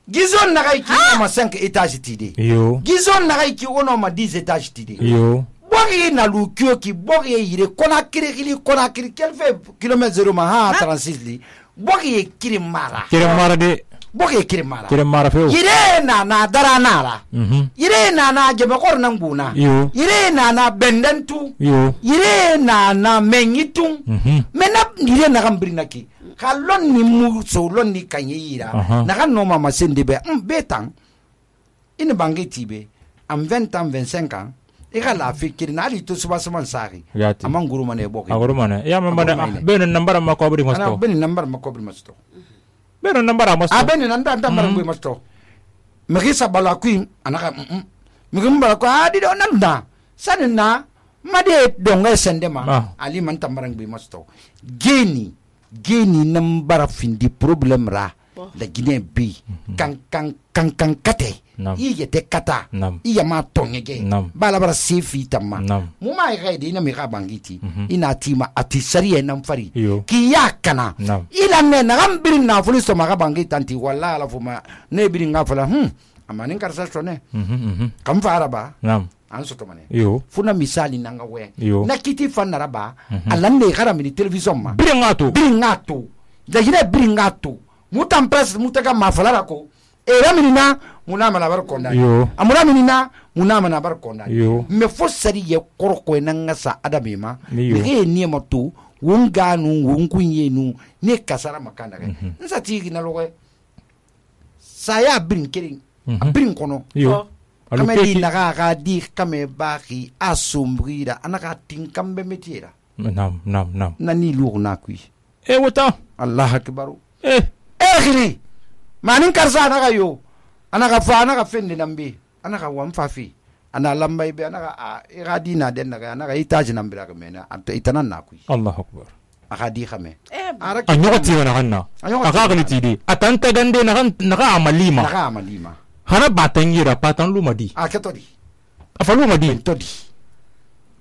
S5: gizon na kai ki ma cinq étages tide
S6: iyo
S5: gizon na kai ki ono ma dix étages tide
S6: iyo
S5: bogi na lu kyo ki bogi yire kona kiri kiri kona kiri quel fait kilomètre zéro ma ha trente-six li bogi kiri mara
S6: kire mara de
S5: bogi kiri mara
S6: kire mara feo
S5: yire na na dara nara
S6: mhm
S5: yire na na jebe kor nan buna
S6: iyo
S5: yire na na bendentu
S6: iyo
S5: yire na na menyitu
S6: mhm
S5: mena yire na gambirina ki kalon ni mu so lon ni kanye yira
S6: Aha.
S5: na kan no mama sende be um betan ina bangi tibe am vingt ans vingt-cinq ans e ka la fikiri na ali to suba suba sari
S6: Yati.
S5: amman guru mane boke
S6: agoro mana ya ma mana
S5: Agoro mane.
S6: beno nambara ma ko bari
S5: ana
S6: masto
S5: beni number makobri masto
S6: beno nambara masto
S5: a beni nanda number ngui masto megi sabala kuin anaka mm megi mbala ko adi do nanda sanina made donga sende ma
S6: Ah.
S5: ali man tambarang ngui masto geni geni nambara findi problem ra la Guinée bi kan kan kan kan kate
S6: Nam.
S5: i yete kata
S6: Nam.
S5: i yama tongege
S6: Nam.
S5: bala bara sefi tamma
S6: Nam.
S5: mu ma ga de ina mi ga bangiti ina tima ati sariye nan fari
S6: Iyo.
S5: ki yakana
S6: Nam.
S5: ila ne na gambirin na fuli so ma ga bangiti anti walla ala fuma ne birin ga fala hm amani karsa sone
S6: mhm mhm
S5: kam fara ba
S6: nam
S5: an so to mane
S6: iyo
S5: funa misali nanga we
S6: Iyo.
S5: na kiti fanara ba alan ne gara mi television ma
S6: bire ngato
S5: birin ngato da gida birin ngato mutan press mutaka mafalara ko e raminina muna mana bar konda
S6: Yo.
S5: amuna minina muna mana bar konda
S6: Yo.
S5: me fosari ye korko nan ngasa adame ma
S6: Yo.
S5: me ni mato wonganu wonkunye nu ne kasara makanda ga nsa tigi na logo saya birin kirin birin kono
S6: iyo alu
S5: kame di
S6: keki
S5: naga ga di kame baki asumbrida anaka tinkambe metiera
S6: nam nam nam
S5: nani lugu na kui
S6: e wota
S5: allah akbaru
S6: eh
S5: ekhiri manin karsa anaka yo anaka fa anaka fende nambe anaka wamfafi ana lambay be anaka a iradi na den naga anaka itaji nambira ka mena anta itanan na kui
S6: allahu akbar
S5: aka di khame
S4: Eh,
S5: araki
S6: anyoti wana kanna
S5: Anyoti
S6: akakali tidi atanta gande na kan naka amalima
S5: naka amalima
S6: hana batangira patan lumadi
S5: akatodi
S6: afalu madi
S5: todi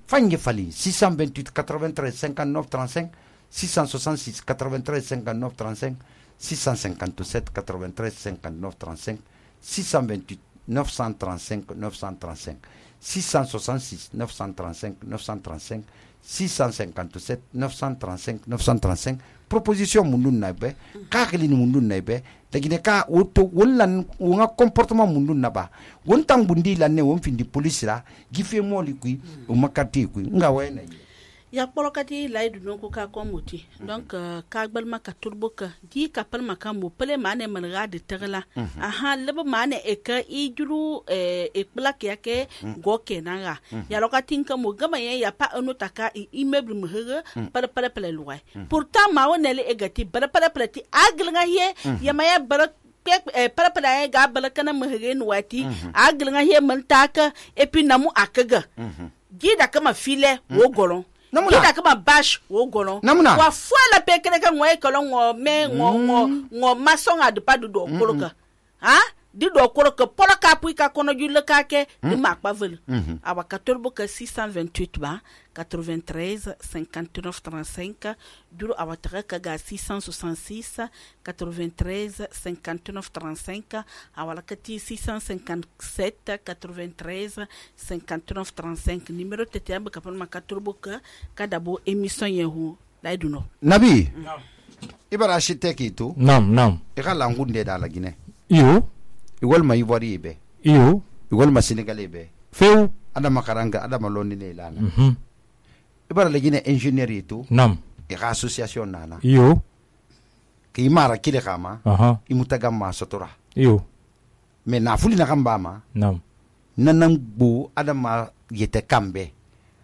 S5: fange fali six cent vingt-huit quatre-vingt-treize cinquante-neuf trente-cinq six cent soixante-six quatre-vingt-treize cinquante-neuf trente-cinq six cent cinquante-sept quatre-vingt-treize cinquante-neuf trente-cinq six cent vingt-huit neuf cent trente-cinq neuf cent trente-cinq six cent soixante-six neuf cent trente-cinq neuf cent trente-cinq six cent cinquante-sept neuf cent trente-cinq neuf cent trente-cinq proposition mundu naibe kakili ni mundu naibe dagine ka woto wonlan wonga comportement mundu naba wontan bundi la ne won findi police la gife moli kui o makati kui nga wena yi
S4: ya polokati laidu no ko ka ko muti donc ka gbalma ka turbo ka di ka palma ka mo pele mane man ga de tegla aha leba mane e ka i juru e plak yake go kenan ga ya lokatin ka mo gama ya pa anu taka immeuble mu hege pare pare pele luwai pourtant ma wonele e gati pare pare pele ti agl nga ye ya maya bar pare pare ga bala kana mu hege no wati agl nga ye man taka et puis namu akaga gida kama file wo golon Kita kama bash wo gono. Wa fwa pe kene ka ngwe ko ngo me ngo ngo ngo masonga de padu do koloka. Ha? Di do koloka poloka pu ka kono julle ka ke di makpa vel. Awa katorbo ka six cent vingt-huit ba quatre-vingt-treize cinquante-neuf trente-cinq duro awa taka ka ga six cent soixante-six quatre-vingt-treize cinquante-neuf trente-cinq awa la kati six cent cinquante-sept quatre-vingt-treize cinquante-neuf trente-cinq numéro tete amba ka palma katorbo ka kadabo émission yehu laiduno.
S5: Nabi. Ibara architecte itu.
S6: Nam nam.
S5: Ika langunde da la Guinée.
S6: Iyo.
S5: Igol ma Ivoire be.
S6: Iyo.
S5: Igol ma Sénégalais be.
S6: Feu.
S5: Ada makaranga ada maloni ne lana.
S6: Mhm.
S5: Ibara la Guinée ingénieur itu.
S6: Nam.
S5: Ika association nana.
S6: Iyo.
S5: Ki mara kile kama.
S6: Aha.
S5: Imutaga ma sotora.
S6: Iyo.
S5: Me na fuli na kamba ma.
S6: Nam.
S5: Nanang bu ada ma yete kambe.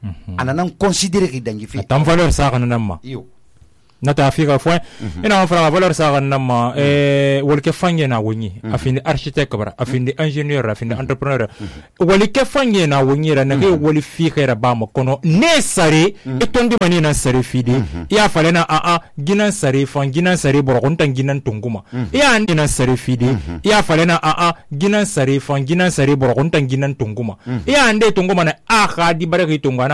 S5: Mhm. Ananang considérer ki dangi fi.
S6: Tam valeur sa kana namma.
S5: Iyo.
S6: Nata Afrika fo ina fara valeur sa kan nama eh wolke fanye na wonyi afindi architecte bara afindi ingénieur afindi entrepreneur wolke fanye na wonyi ra na ke woli fi khera ba mo kono ne sare e tondi mani na sare fidi ya falena a a ginan sare fan ginan sare boro kon tan ginan tunguma ya andi na sare fidi ya falena a a ginan sare fan ginan sare boro kon tan ginan tunguma ya ande tunguma na a khadi bare ki tungana